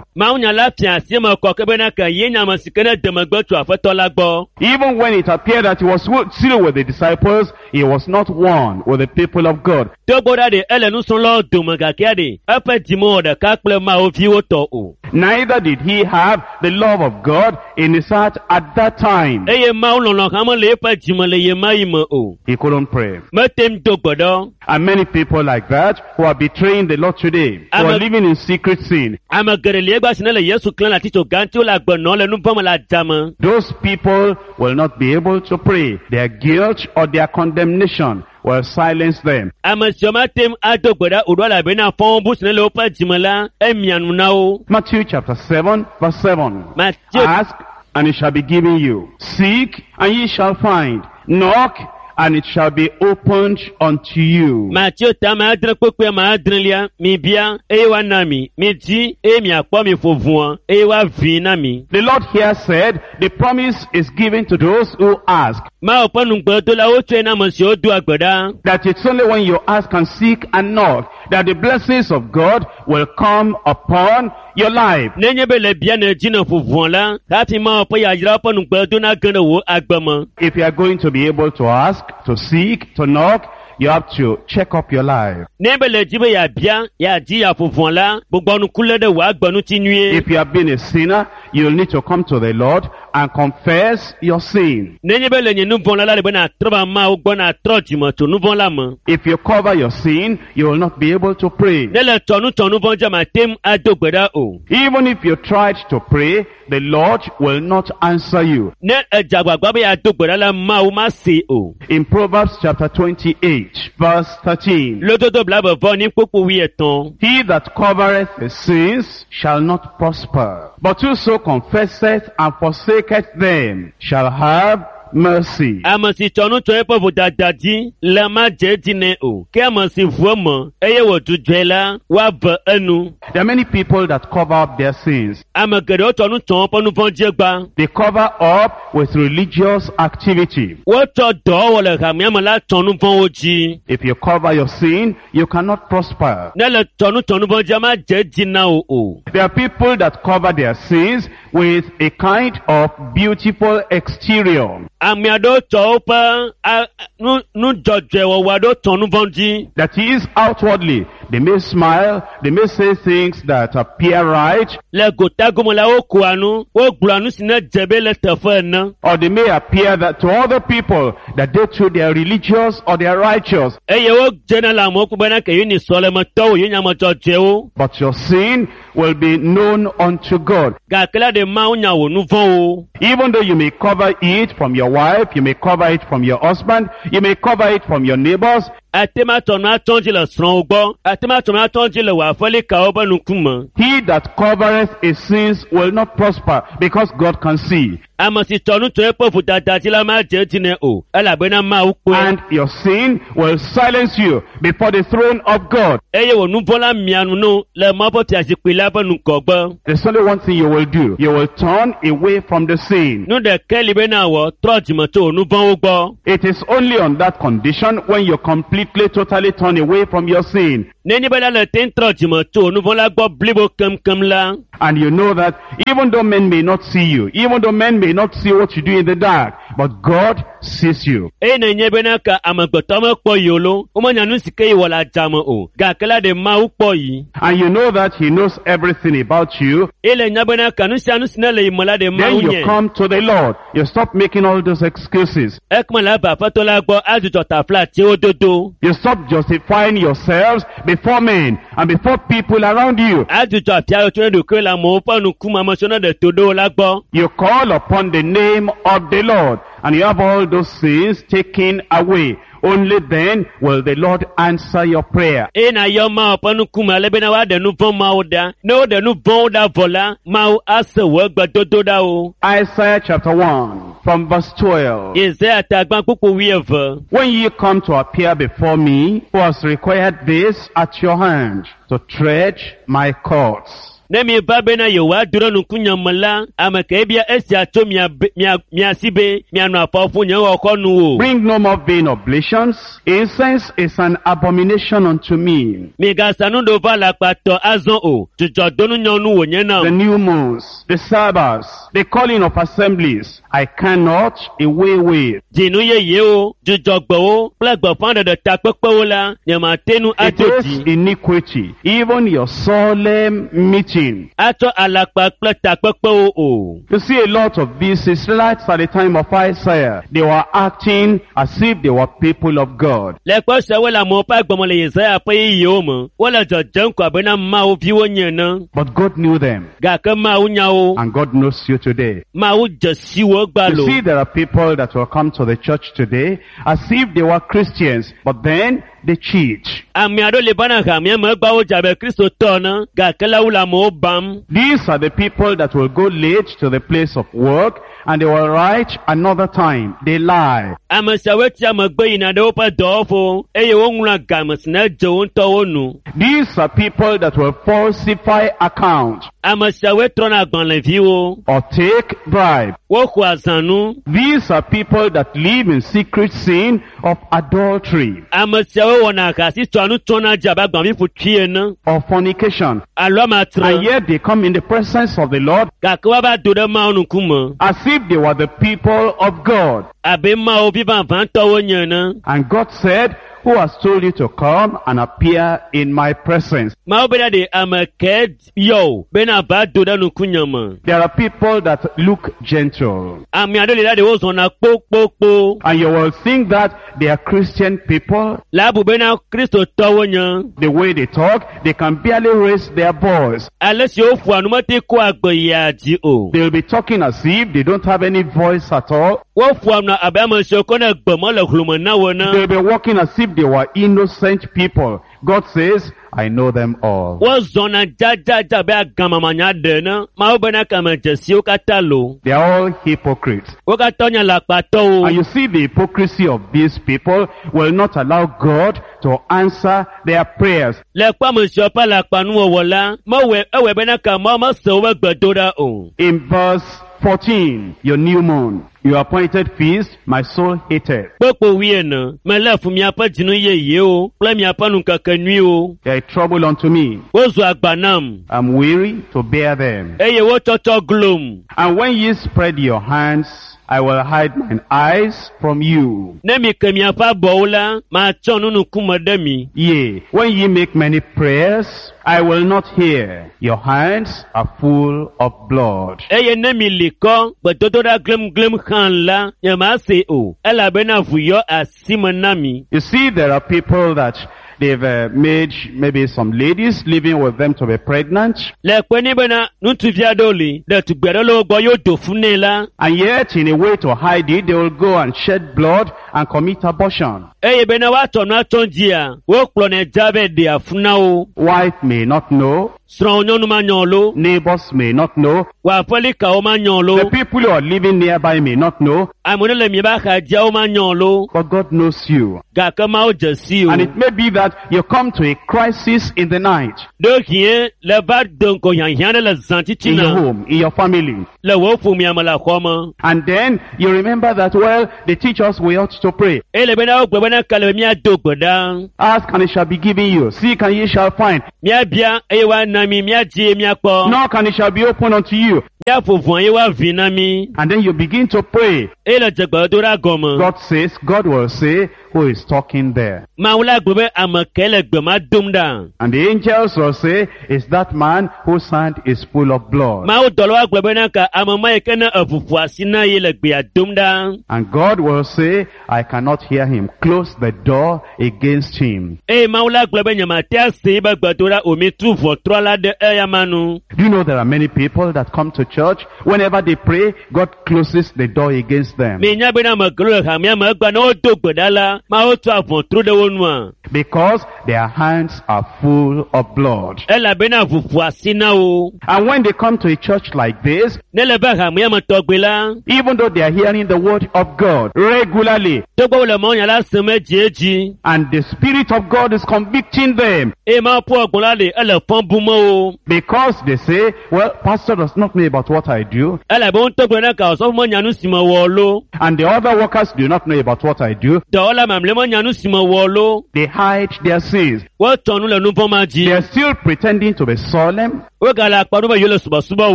Mawunya la fia asi me kɔ ke bena ke ye nye ame si ke ne de megbe tso Aƒetɔ la gbɔ. Even when it appeared that he was still with the disciples, he was not one with the people of God. Togbɔ ɖa ɖe ele nusrɔ̃lawo dome gakea ɖe eƒe dzime wɔ ɖeka kple Mawu viwo tɔ o. Neither did he have the love of God in his heart at that time. Eye Mawu lɔlɔ̃ hã mele eƒe dzime le ɣe ma ɣi me o. He couldn't pray. Mete ŋu do gbe ɖa. And many people like that who are betraying the Lord today, who are I'm a- living in secret sin, Ame geɖe li egbea si ne le Yesu klẽm le atitso gã ŋuti wole agbe nɔm le nu vɔ̃ me le adzame. those people will not be able to pray. Their guilt or their condemnation will silence them. Ame siwo mate ŋu ado gbe ɖa o ɖo elabena fɔbubu si ne le woƒe dzime la, emia nu na wo. Matthew chapter seven, verse seven. Matthew Ask, and it shall be given you. Seek, and ye shall find. Knock, and it shall be opened unto you. Mateo ta ame adre kpekpe ame adrelia, mibia eye woana mi, midi eye miakpɔ mi ƒo ʋua eye woavii na mi. The Lord here said, the promise is given to those who ask. Mawu ƒe nugbedola wotsɔe na ame siwo doa gbe ɖa. That it's only when you ask and seek and knock that the blessings of God will come upon your life. Nenye be le bia ne dzi ne ƒo ʋua la, hafi Mawu ƒe yayrawo ƒe nugbedo nage ɖe wò agbe me. If you are going to be able to ask, to seek, to knock, you have to check up your life. Ne be le dzi be yeabia, yeadi yeaƒo ʋua la, gbugbɔ ŋku lé ɖe wò agbe ŋuti nyuie. If you have been a sinner, you'll need to come to the Lord and confess your sin. Nenye be le nye nu vɔ̃ la la ɖe be nàtrɔ va Mawu gbɔ nàtrɔ dzime tso nu vɔ̃ la me. If you cover your sin, you will not be able to pray. Ne le tsɔ nu tsɔ nu vɔ̃ dzi mate ŋu ado gbe ɖa o. Even if you tried to pray, the Lord will not answer you. Ne edze agbagba be yeado gbe ɖa la, Mawu mase o. In Proverbs chapter twenty-eight, verse thirteen, Lododo blaeve vɔ enyi kpukpu wuietɔ̃. He that covereth his sins shall not prosper, but whoso confesseth and forsaketh them shall have mercy. Ame si tsɔ nu tsɔ eƒe vodada dzi la madze edzi nɛ o. Ke ame si ʋu eme eye wòdzudzɔe la, woave enu. There are many people that cover up their sins. Ame geɖewo tsɔ nu tsɔ woƒe nu vɔ̃ dzi gba. They cover up with religious activity. Wotsɔ dɔwɔwɔ le hamea me la tsɔ nu vɔ̃wo dzi. If you cover your sin, you cannot prosper. Ne le tsɔ nu tsɔ nu vɔ̃ dzia, madze edzi na wò o. There are people that cover their sins with a kind of beautiful exterior. Ame aɖewo tsɔ woƒe a- nu nudzɔdzɔewɔwɔ aɖewo tsɔ nu vɔ̃ dzi. That is, outwardly, They may smile. They may say things that appear right. Le gota gome la wokoa nu, wogblɔa nu si ne dze be le teƒe ene. Or they may appear that to other people that they too they are religious or they are righteous. Eye wodzena le amewo kpɔ bena ke yewo nye sɔlemetɔwo, yewo nye ame dzɔdzɔewo. But your sin will be known unto God. Gake la ɖe Mawu nya wò nu vɔ̃wo. Even though you may cover it from your wife, you may cover it from your husband, you may cover it from your neighbors, Ate ma tsɔ nu atsɔ dzi le srɔ̃wò gbɔ, ate ma tsɔ nu atsɔ dzi le wò aƒelikawo ƒe ŋkume. he that covereth his sins will not prosper because God can see. Ame si tsɔ nu tso eƒe vodada dzi la madze edzi nɛ o, elabena Mawu kpɔe. And your sin will silence you before the throne of God. Eye wò nu vɔ̃ la mia nu no le Mawu ƒe fiazikpui la ƒe ŋgɔgbe. There's only one thing you will do. You will turn away from the sin. Nu ɖeka li be na wɔ, trɔ dzime tso wò nu vɔ̃wo gbɔ. It is only on that condition when you completely, totally turn away from your sin. Nenye be la le te ŋu trɔ dzime tso wò nu vɔ̃ la gbɔ blibo keŋkeŋ la, And you know that even though men may not see you, even though men may not see what you do in the dark, but God sees you. eye nenye bena ka amegbetɔ mekpɔ yi o lo, womenya nu si ke yi wɔ le adzame o, gake la ɖe Mawu kpɔ yi. And you know that He knows everything about you. Eye le nya bena ka nu sia nu si ne le yi me la ɖe Then Mawu you nye. come to the Lord. You stop making all those excuses. Ekema le ava Aƒetɔ la gbɔ adzudzɔ taflatsewo dodo. You stop justifying yourselves before men and before people around you. Adzudzɔ afiawo tso ne ɖokuiwo le amewo ƒe ŋkume, ame siwo ne ɖe to ɖo wo la gbɔ. You call upon the name of the Lord and you have all those sins taken away. Only then will the Lord answer your prayer. Eye nayɔ Mawu ƒe ŋkume ale bena woaɖe nu vɔ̃ mawo ɖa. Ne woɖe nu vɔ̃wo ɖa vɔ la, Mawu ase wò egbedodo ɖa o. Isaiah chapter one from verse twelve. Yesaya ta gbã kpukpu wuieve. When ye come to appear before me, who has required this at your hand, to tread my courts? Ne mi va bena yewoado ɖe ŋkunye me la, ame ke bia esia tso mia be- mia mia si be mianɔ afɔ ƒu nye xɔxɔnu o. Bring no more vain oblations. Incense is an abomination unto me. Migasa nuɖova alakpatɔ azɔ o. Dzudzɔdonunyɔnu wònye The nam. new moons, the Sabbaths, the calling of assemblies, I cannot away with. Dzinu yeyewo, dzudzɔgbewo kple gbeƒãɖeɖe takpekpewo la, nyemate ŋu It adzo is dzi. iniquity, even your solemn meeting. Atsɔ alakpa kple takpekpewo o. You see a lot of these Israelites at the time of Isaiah, they were acting as if they were people of God. Le kpe siawo le amewo ƒe agbeme le Yesaya ƒe ɣeyiɣiwo me, wole dzɔdzem ko abena Mawu viwo nye ene. But God knew them, Gake Mawu nya wo. and God knows you today. Mawu dze si wo You gbalo. see, there are people that will come to the church today as if they were Christians, but then they cheat. Ame aɖewo le vana hamea me egba wodze abe Kristotɔ ene, gake la wole amewo bam. These are the people that will go late to the place of work and they will write another time. They lie. Ame siawoe tsia megbe yina ɖe woƒe dɔwɔƒewo eye woŋlɔa game si ne dze wo ŋutɔwo nu. These are people that will falsify account Ame siawoe trɔna agbalẽviwo, or take bribe. woxɔa zãnu. These are people that live in secret sin of adultery Ame siawoe wɔna ahasi tsɔa nu tsɔna dzi abe agbalẽviƒutui ene or fornication. alo amatre. And yet they come in the presence of the Lord Gake woava do ɖe Mawu ŋkume as if they were the people of God. abe Mawu vi vavãtɔwo nye ene. And God said, who has told you to come and appear in my presence? Mawu bena ɖe ame ke yɔ o bena va do ɖe ŋkunye me. There are people that look gentle. Ame aɖewo li la ɖe wozɔna kpokpokpo. And you will think that they are Christian people. Le abu bena Kristotɔwo nye. The way they talk, they can barely raise their voice. Ale si woƒoa nu mete kɔa gbe yia dzi o. They'll be talking as if they don't have any voice at all. Woƒoa nu abe ame siwo ke ne gbe mele hlome na wo ene. They'll be walking as if they were innocent people. God says, I know them all. Wozɔna dzadzadza abe agamamanya ɖe ene. Mawu bena kame dzesiwo katã lo. They are all hypocrites. Wo katã nye alakpatɔwo. And you see the hypocrisy of these people will not allow God to answer their prayers. Le kpɔ ame siwo ƒe alakpanuwɔwɔ la, mewɔe ewɔe bena ka Mawu mese woƒe gbedoɖa o. In verse fourteen, your new moon, Your appointed feast, my soul hateth. Kpokpo wuiene, melé fu miaƒe dzinu yeyewo kple miaƒe nukeke nyuiwo. They are trouble unto me. Wozu agba nam I'm weary to bear them. eye wotsɔtsɔ glom. And when ye spread your hands, I will hide mine eyes from you. Ne mi ke miaƒe abɔwo la, matsɔ nu ŋkume ɖe mi. Yea, when ye make many prayers, I will not hear. Your hands are full of blood. Eye ne mi li kɔ gbedodoɖa glemglem hã la, nyemase o, elabena ʋu yɔ asi me na mi. You see, there are people that they've uh, made maybe some ladies living with them to be pregnant, Le kpe ni bena ŋutsuvi aɖewo li, ɖetugbi aɖewo le wo gbɔ yewo do fu nɛ la, and yet in a way to hide it, they will go and shed blood and commit abortion. eye bena woatsɔ nua tsɔ dzia, wokplɔnɛ dza vɛ ɖea fu na wo. Wife may not know, Srɔ̃wo nyɔnu manyɔ lo, neighbors may not know, wò aƒelikawo manyɔ lo, the people who are living nearby may not know, ame ɖe le miaƒe axadziawo manyɔ lo, but God knows you. gake Mawu dze si o. And it may be that you come to a crisis in the night, Ɖewohĩ le va do ŋgɔ hiahiã ɖe le zã in your titina home, in your family. le wò ƒomea me le xɔ me. And then you remember that, well, they teach us we ought to pray. Eye le bena wogblɔ bena ke le be míado gbe ɖa. Ask and it shall be given you. Seek and ye shall find. Míabia eye woana mi, míadzi eye míakpɔ. Knock and it shall be opened unto you. Míaƒo ʋɔ eye woavi na mí. And then you begin to pray. Eye le dze gbedodoɖa gɔme. God says, God will say, who is talking there? Mawu la gblɔ be ame kae le gbe ma dom ɖa. And the angels will say, it's that man whose hand is full of blood. Mawu dɔlawo agblɔ bena ka ame ma yi ke ne eʋuƒo asi na ye le gbea dom ɖa. And God will say, I cannot hear him. Close the door against him. Eye Mawu la gblɔ be nyemate ase yibe gbedoɖa o mi tu ʋɔtrɔ la ɖe eya ma nu. Do you know there are many people that come to church? Whenever they pray, God closes the door against them. Minya bena ame geɖewo le hamea me egbea ne wodo gbe ɖa la, Mawu tu aʋɔtru ɖe wo nua. Because their hands are full of blood. Elabena ʋuƒo asi na wo. And when they come to a church like this, Ne le be hamea me tɔgbe la, even though they are hearing the word of God regularly, togbɔ wole mawunya la sem edziedzi and the Spirit of God is convicting them, eye Mawu ƒe gbɔgbɔ la le ele fɔ bum wo. because they say, well, pastor does not know about what I do, Elabe wo ŋutɔ gblɔ na ka osɔfo menya nu si mewɔ lo. and the other workers do not know about what I do. Dɔwɔla mamlɛ menya nu si mewɔ lo. They hide their sins. Wotsɔ nu le nu vɔ̃ ma dzi. They are still pretending to be solemn. Wogale akpa ɖom be yewo le subɔsubɔ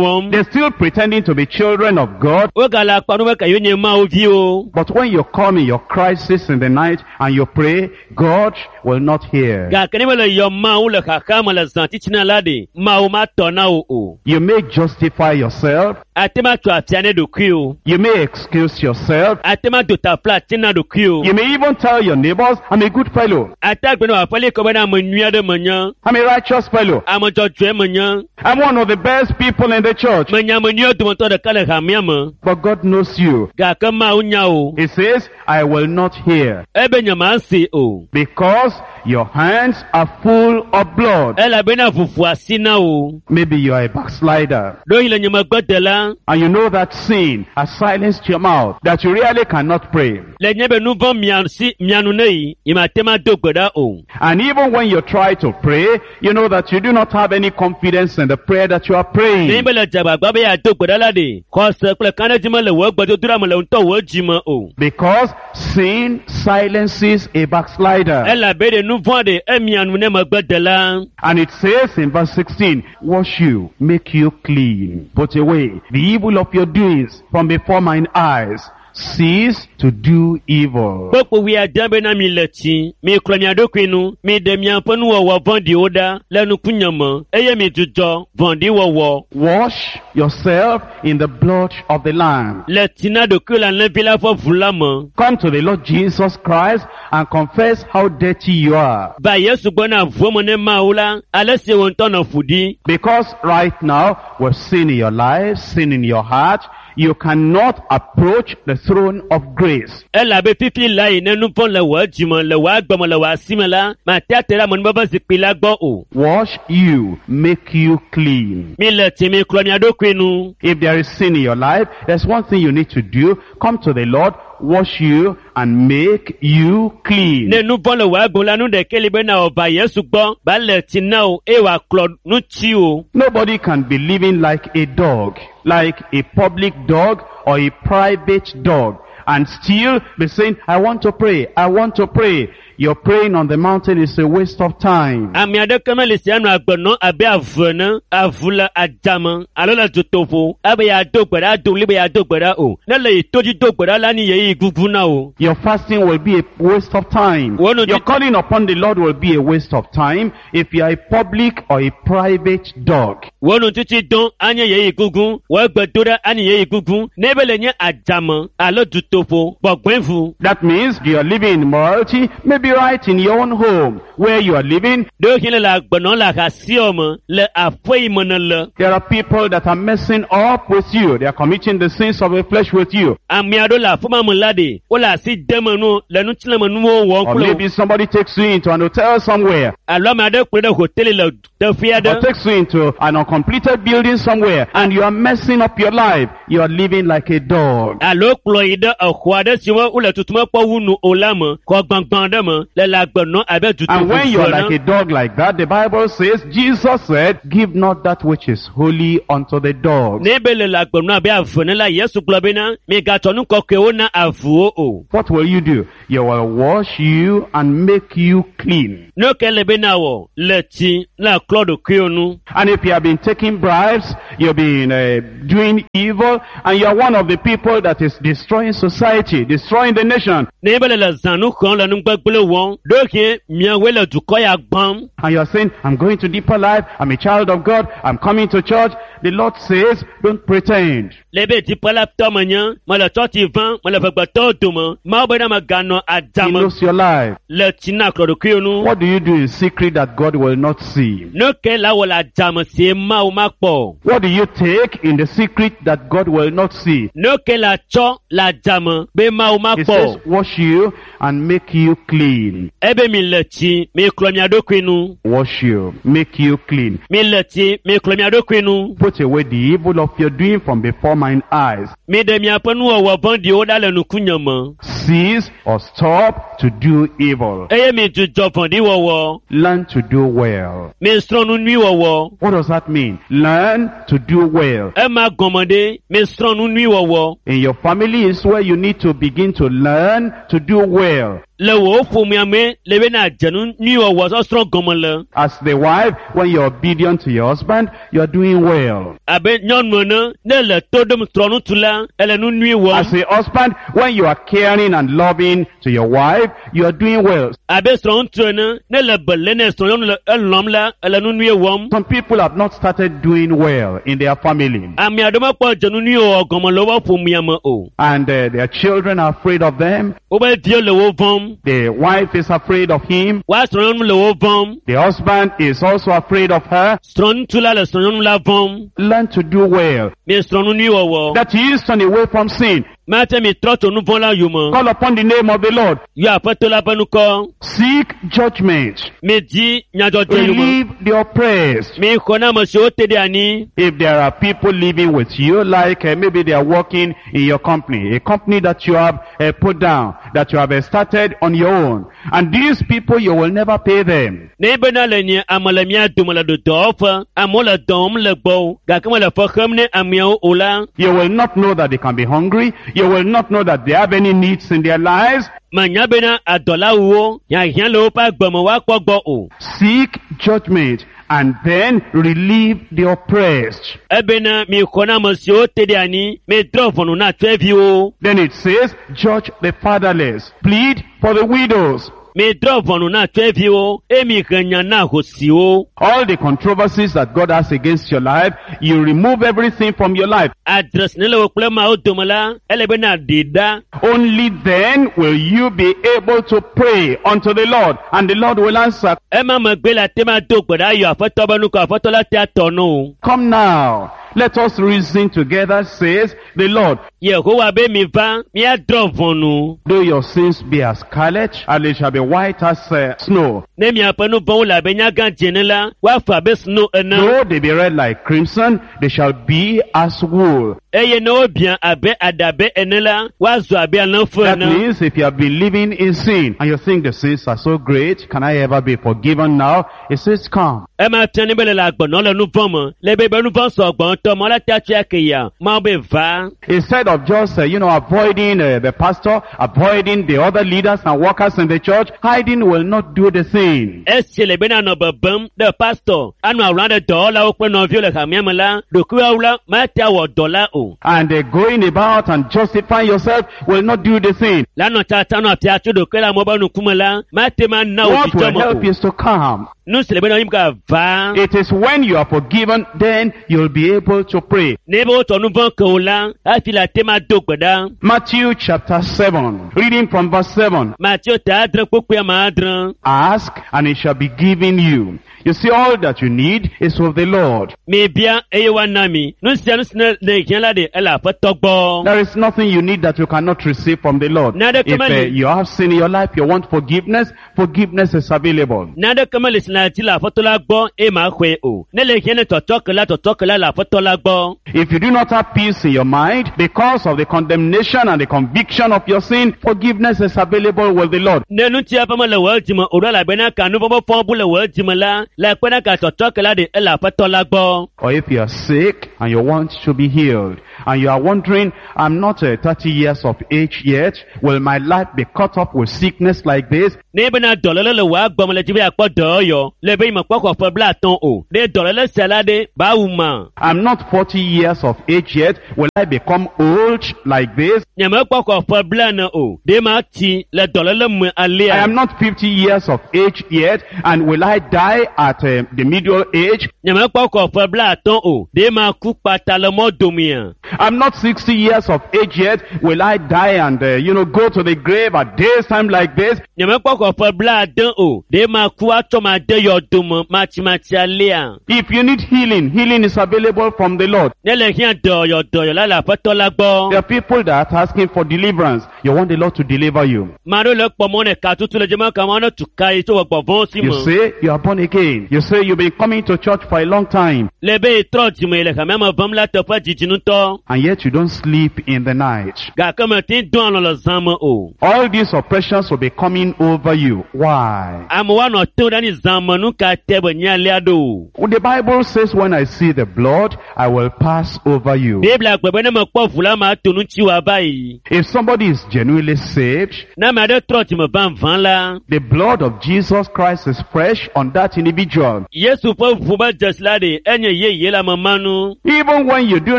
wɔm. They're still pretending to be children of God. Wogale akpa ɖom be ka yewo nye Mawu viwo. But when you come in your crisis in the night and you pray, God will not hear. Gake ne mele yɔ Mawu le xaxa me le zã titina la ɖe, Mawu matɔ na wò o. You may justify yourself. Ate ma tso afia ne ɖokuiwò. You may excuse yourself. Ate ma do tafla ati na ɖokuiwò. You may even tell your neighbors, I'm a good fellow. Ate agblɔ na wò aƒelikɔ bena ame nyui aɖe menye, I'm a righteous fellow. ame dzɔdzɔe menye, I'm one of the best people in the church. menye ame nyuiwo dometɔ ɖeka le hamea me. But God knows you. Gake Mawu nya wò. He says, I will not hear Ebe nyemase o. because your hands are full of blood. Elabena ʋuƒo asi na wò. Maybe you are a backslider Ɖewohĩ le nye megbe de la, and you know that sin has silenced your mouth, that you really cannot pray. le nye be nu vɔ̃ mia si mia nu ne yi, nyemate ma do gbe ɖa o. And even when you try to pray, you know that you do not have any confidence in the prayer that you are Nenye praying. be le dze agbagba be yeado gbe ɖa la ɖe, xɔse kple kaɖedzi mele wò gbedodoɖa me le ŋutɔ wò dzi me o. Because sin silences a backslider. Elabe ɖe nu vɔ̃ ɖe emia nu ne megbe de la. And it says in verse sixteen, wash you, make you clean, put away the evil of your doings from before mine eyes. Cease to do evil. Kpokpo wuiade bena mi le tsi, mi klɔ mia ɖokui nu, mi ɖe miaƒe nuwɔwɔ vɔ̃ɖiwo ɖa le nukunye me eye mi dzudzɔ vɔ̃ɖiwɔwɔ. Wash yourself in the blood of the Lamb. Le tsi na ɖokuiwò le alẽvi la ƒe ʋu la me. Come to the Lord Jesus Christ and confess how dirty you are. Va Yesu gbɔ na ʋuo me ne Mawu la, ale si wò ŋutɔ nɔ ƒu ɖi. Because right now, with sin in your life, sin in your heart, you cannot approach the throne of grace. Elabe fifi la yi ne nu vɔ̃ le wò dzime, le wò agbe me, le wò asi me la, mate ate ɖe amenuveve zikpui la gbɔ o. Wash you, make you clean. Mi le tsi, mi klɔ mia ɖokui nu. If there is sin in your life, there's one thing you need to do. Come to the Lord, wash you, and make you clean. Ne nu vɔ̃ le wò agbe me la, nu ɖekɛ li bena wòva Yesu gbɔ, ba le tsi na wò eye wòaklɔ nu tsi wò. Nobody can be living like a dog. like a public dog or a private dog and still be saying, I want to pray, I want to pray. Your praying on the mountain is a waste of time. Ame aɖeke meli si anɔ agbe nɔm abe avu ene, avu le adzame alo le dutoƒo ebe yeado gbe ɖa ado ɣli be yeado gbe ɖa o. Ne le yi to dzi do gbe ɖa la, ni ɣeyiɣi gugu na wò. Your fasting will be a waste of time. Wọ́n Your ti- calling upon the Lord will be a waste of time if you are a public or a private dog. Wò nutiti dɔn anye ɣeyiɣi gugu, wò gbedoɖa anye ɣeyiɣi gugu ne be le nye adzame alo dutoƒo gbɔgbɔevu. That means you are living in morality, maybe right in your own home where you are living. Ɖewohĩ le le agbe nɔm le ahasiwɔ me le aƒe yi me nèle. There are people that are messing up with you. They are committing the sins of the flesh with you. Ame aɖewo le aƒe ma me la ɖe, wole asi dem enu le ŋutilãmenuwo wɔm Or kple wo. maybe somebody takes you into an hotel somewhere. Alo ame aɖe kplɔe ɖe hoteli le teƒe Or aɖe. takes you into an uncompleted building somewhere and you are messing up your life. You are living like a dog. Alo kplɔ yi ɖe exɔ aɖe si me wole tutum kpɔ wu nu o la me, xɔ gbãgbã ɖe me, le le agbe nɔm abe And when you dutoƒo are like ene. a dog like that, the Bible says, Jesus said, give not that which is holy unto the dogs. Ne be le le agbe nɔm abe avu ene la, Yesu gblɔ bena, migatsɔ nu kɔkɔewo na avuwo o. What will you do? You will wash you and make you clean. Ne ke le bena wɔ le tsi na klɔ ɖokuiwo nu. And if you have been taking bribes, you've been uh, doing evil, and you are one of the people that is destroying society, destroying the nation, Ne be le le zãnu xɔm le nugbegblẽ wɔm, ɖewohĩ miawoe le dukɔ ya gbãm. and you are saying, I'm going to deeper life, I'm a child of God, I'm coming to church, the Lord says, don't pretend. Le be dziƒo la tɔ menye, mele tsɔtsi vam, mele ʋegbetɔwo dome. Mawu bena meganɔ He adzame knows your life. le tsi na klɔ ɖokuiwo nu. What do you do in secret that God will not see? Nu ke la wɔ le adzame sie Mawu makpɔ o. What do you take in the secret that God will not see? Nu ke la tsɔ le adzame be Mawu He makpɔ says, o. wash you and make you clean. Ebe mi le tsi, mi klɔ mia ɖokui nu. Wash you, make you clean. Mi le tsi, mi klɔ mia ɖokui nu. Put away the evil of your doing from before mine eyes. Mi ɖe miaƒe nuwɔwɔ vɔ̃ɖiwo ɖa le nukunye me. Cease or stop to do evil. Eye mi dzudzɔ vɔ̃ɖiwɔwɔ. Learn to do well. Mi srɔ̃ nu nyui wɔwɔ. What does that mean? Learn to do well. Ema gɔme ɖe, mi srɔ̃ nu nyui wɔwɔ. In your family is where you need to begin to learn to do well. Le wò ƒomea me le bena dze nu nyui wɔwɔ sɔsrɔ̃ gɔme le. As the wife, when you're obedient to your husband, you're doing well. Abe nyɔnu ene, ne le to ɖom srɔ̃ŋutsu la, ele nu nyui wɔm. As a husband, when you are caring and loving to your wife, you are doing well. Abe srɔ̃ŋutsu ene, ne le be lé ne srɔ̃nyɔnu le elɔm la, ele nu nyui wɔm. Some people have not started doing well in their family. Ame aɖewo mekpɔ dze nu nyui wɔwɔ gɔme le woƒe ƒomea me o. And uh, their children are afraid of them. Woƒe viwo le wo vɔ̃m. The wife is afraid of him. Woa srɔ̃nyɔnu le wo vɔ̃m. The husband is also afraid of her. Srɔ̃ŋutsu la le srɔ̃nyɔnu la vɔ̃m. Learn to do well. Mi srɔ̃ nu nyui wɔwɔ. That is, turn away from sin. Mate mi trɔ tso nu vɔ̃ la yome. Call upon the name of the Lord. Yɔ Aƒetɔ la ƒe ŋkɔ. Seek judgment. Mi di nyadzɔdzɔ yome. Relieve the oppressed. Mi xɔ na ame siwo te ɖe anyi. If there are people living with you, like uh, maybe they are working in your company, a company that you have uh, put down, that you have uh, started on your own, and these people, you will never pay them. Ne bena le nye ame le mía dome le dɔwɔƒe, amewo le dɔ wɔm le gbɔwò gake mele fe xem ne ameawo o la, You will not know that they can be hungry. You will not know that they have any needs in their lives. menya bena adɔlawuwo hiahiã le woƒe agbe me woakpɔ gbɔ o. Seek judgment and then relieve the oppressed. Ebena mi xɔ na ame siwo te ɖe anyi, mi drɔ̃ ʋɔnu na tɔeviwo, Then it says, judge the fatherless, plead for the widows. mi drɔ̃ ʋɔnu na tɔeviwo, eye mi he nya na hosiwo. All the controversies that God has against your life, you remove everything from your life. Adresi ne le wò kple Mawu dome la, ele bena ɖi ɖa. Only then will you be able to pray unto the Lord, and the Lord will answer. Ema megbe la te ma do gbe ɖa yɔ Aƒetɔ be ŋkɔ, Aƒetɔ la te atɔ no o. Come now, let us reason together, says the Lord. Yehowa be mi va, míadrɔ̃ ʋɔnu. Though your sins be as scarlet, and they shall be white as uh, snow. Ne miaƒe nu vɔ̃wo le abe nyagã dze ene la, woafa abe sno ene. Though they be red like crimson, they shall be as wool. Eye ne wobia abe aɖabe ene la, woazɔ abe alẽfu That ene. means if you have been living in sin and you think the sins are so great, can I ever be forgiven now? It says come. Ema fia ne be le le agbenɔ le nu vɔ̃ me. Le be be nu vɔ̃ sɔgbɔ ŋutɔ mɔ la ta tsia ke ya. Mawu be va. Instead of just, uh, you know, avoiding uh, the pastor, avoiding the other leaders and workers in the church, hiding will not do the thing. Esi le bena nɔ bebem ɖe pastor anɔ awla ɖe dɔwɔlawo kple nɔviwo le hamea me la, ɖokuiwɔwla mate awɔ dɔ la o. And uh, going about and justifying yourself will not do the thing. La nɔ tsatsa nɔ afia tso ɖokui le amewo ƒe ŋkume la, mate ma na wò What dzidzɔ will me help o. is to come. Nu si le bena yim ka va. It is when you are forgiven, then you'll be able to pray. Ne be wotsɔ nu vɔ̃ ke wò la, hafi le ate ma do gbe ɖa. Matthew chapter seven, reading from verse seven. Mateo ta adre kpukpui ame adre. Ask and it shall be given you. You see, all that you need is with the Lord. Mibia eye woana mi. Nu sia nu si ne ne hiã la ɖe ele aƒetɔ gbɔ. There is nothing you need that you cannot receive from the Lord. Nada If uh, kamali. you have sin in your life, you want forgiveness, forgiveness is available. Naneke mele si na dzi le aƒetɔ la gbɔ eye ma xɔe o. Ne le hiã ne tɔtrɔ ke la tɔtrɔ ke la le aƒetɔ la gbɔ. If you do not have peace in your mind because of the condemnation and the conviction of your sin, forgiveness is available with the Lord. Ne ŋutia ƒe mele wò dzime o ɖo elabena ka nu vɔ̃ fɔ bu le wò dzime la, le kpena ka tɔtrɔ ke la ɖe ele aƒetɔ la gbɔ. Or if you are sick and you want to be healed and you are wondering, I'm not uh, thirty years of age yet, will my life be cut off with sickness like this? Ne bena dɔléle le wò agbɔme le dzi be yeakpɔ dɔyɔyɔ le be yimekpɔ xɔ ƒe blaetɔ̃ o. Ɖe dɔléle sia la ɖe ba wu ma. I'm not forty years of age yet, will I become old like this? Nyemekpɔ xɔ ƒe blaene o. Ɖe ma tsi le dɔléle me I alea. am not fifty years of age yet, and will I die at uh, the middle age? Nyemekpɔ xɔ ƒe blaetɔ̃ o. Ɖe ma ku kpata le mɔ domea. I'm not sixty years of age yet, will I die and, uh, you know, go to the grave at this time like this? Nyemekpɔ xɔ ƒe blaade o. Ɖe ma ku atsɔ ma de yɔdome matsimatsi alea. If you need healing, healing is available from the Lord. Ne le hiã dɔyɔ dɔyɔ la le aƒetɔ la gbɔ. There are people that are asking for deliverance. You want the Lord to deliver you. Ame aɖewo le kpɔ mɔ ne ka tutu le dzeme kama ne tu ka yi tso gbɔgbɔ vɔ̃wo si You me. say you are born again. You say you've been coming to church for a long time, Le be trɔ dzime le hamea me vam la teƒe didi ŋutɔ. and yet you don't sleep in the night. Gake mete ŋu dɔ alɔ̃ le zã me o. All these oppressions will be coming over you. Why? Amewo anɔ te ɖe anyi zã me nu ka te be nye alea ɖo. Well, the Bible says, when I see the blood, I will pass over you. Biblia gblɔ be ne mekpɔ ʋu la mato nu ŋuti wòava yi. If somebody is genuinely saved, Ne ame aɖe trɔ dzime vavã la, the blood of Jesus Christ is fresh on that individual. Yesu ƒe ʋu be dzesi la ɖe enye yeye le ame ma nu. Even when you do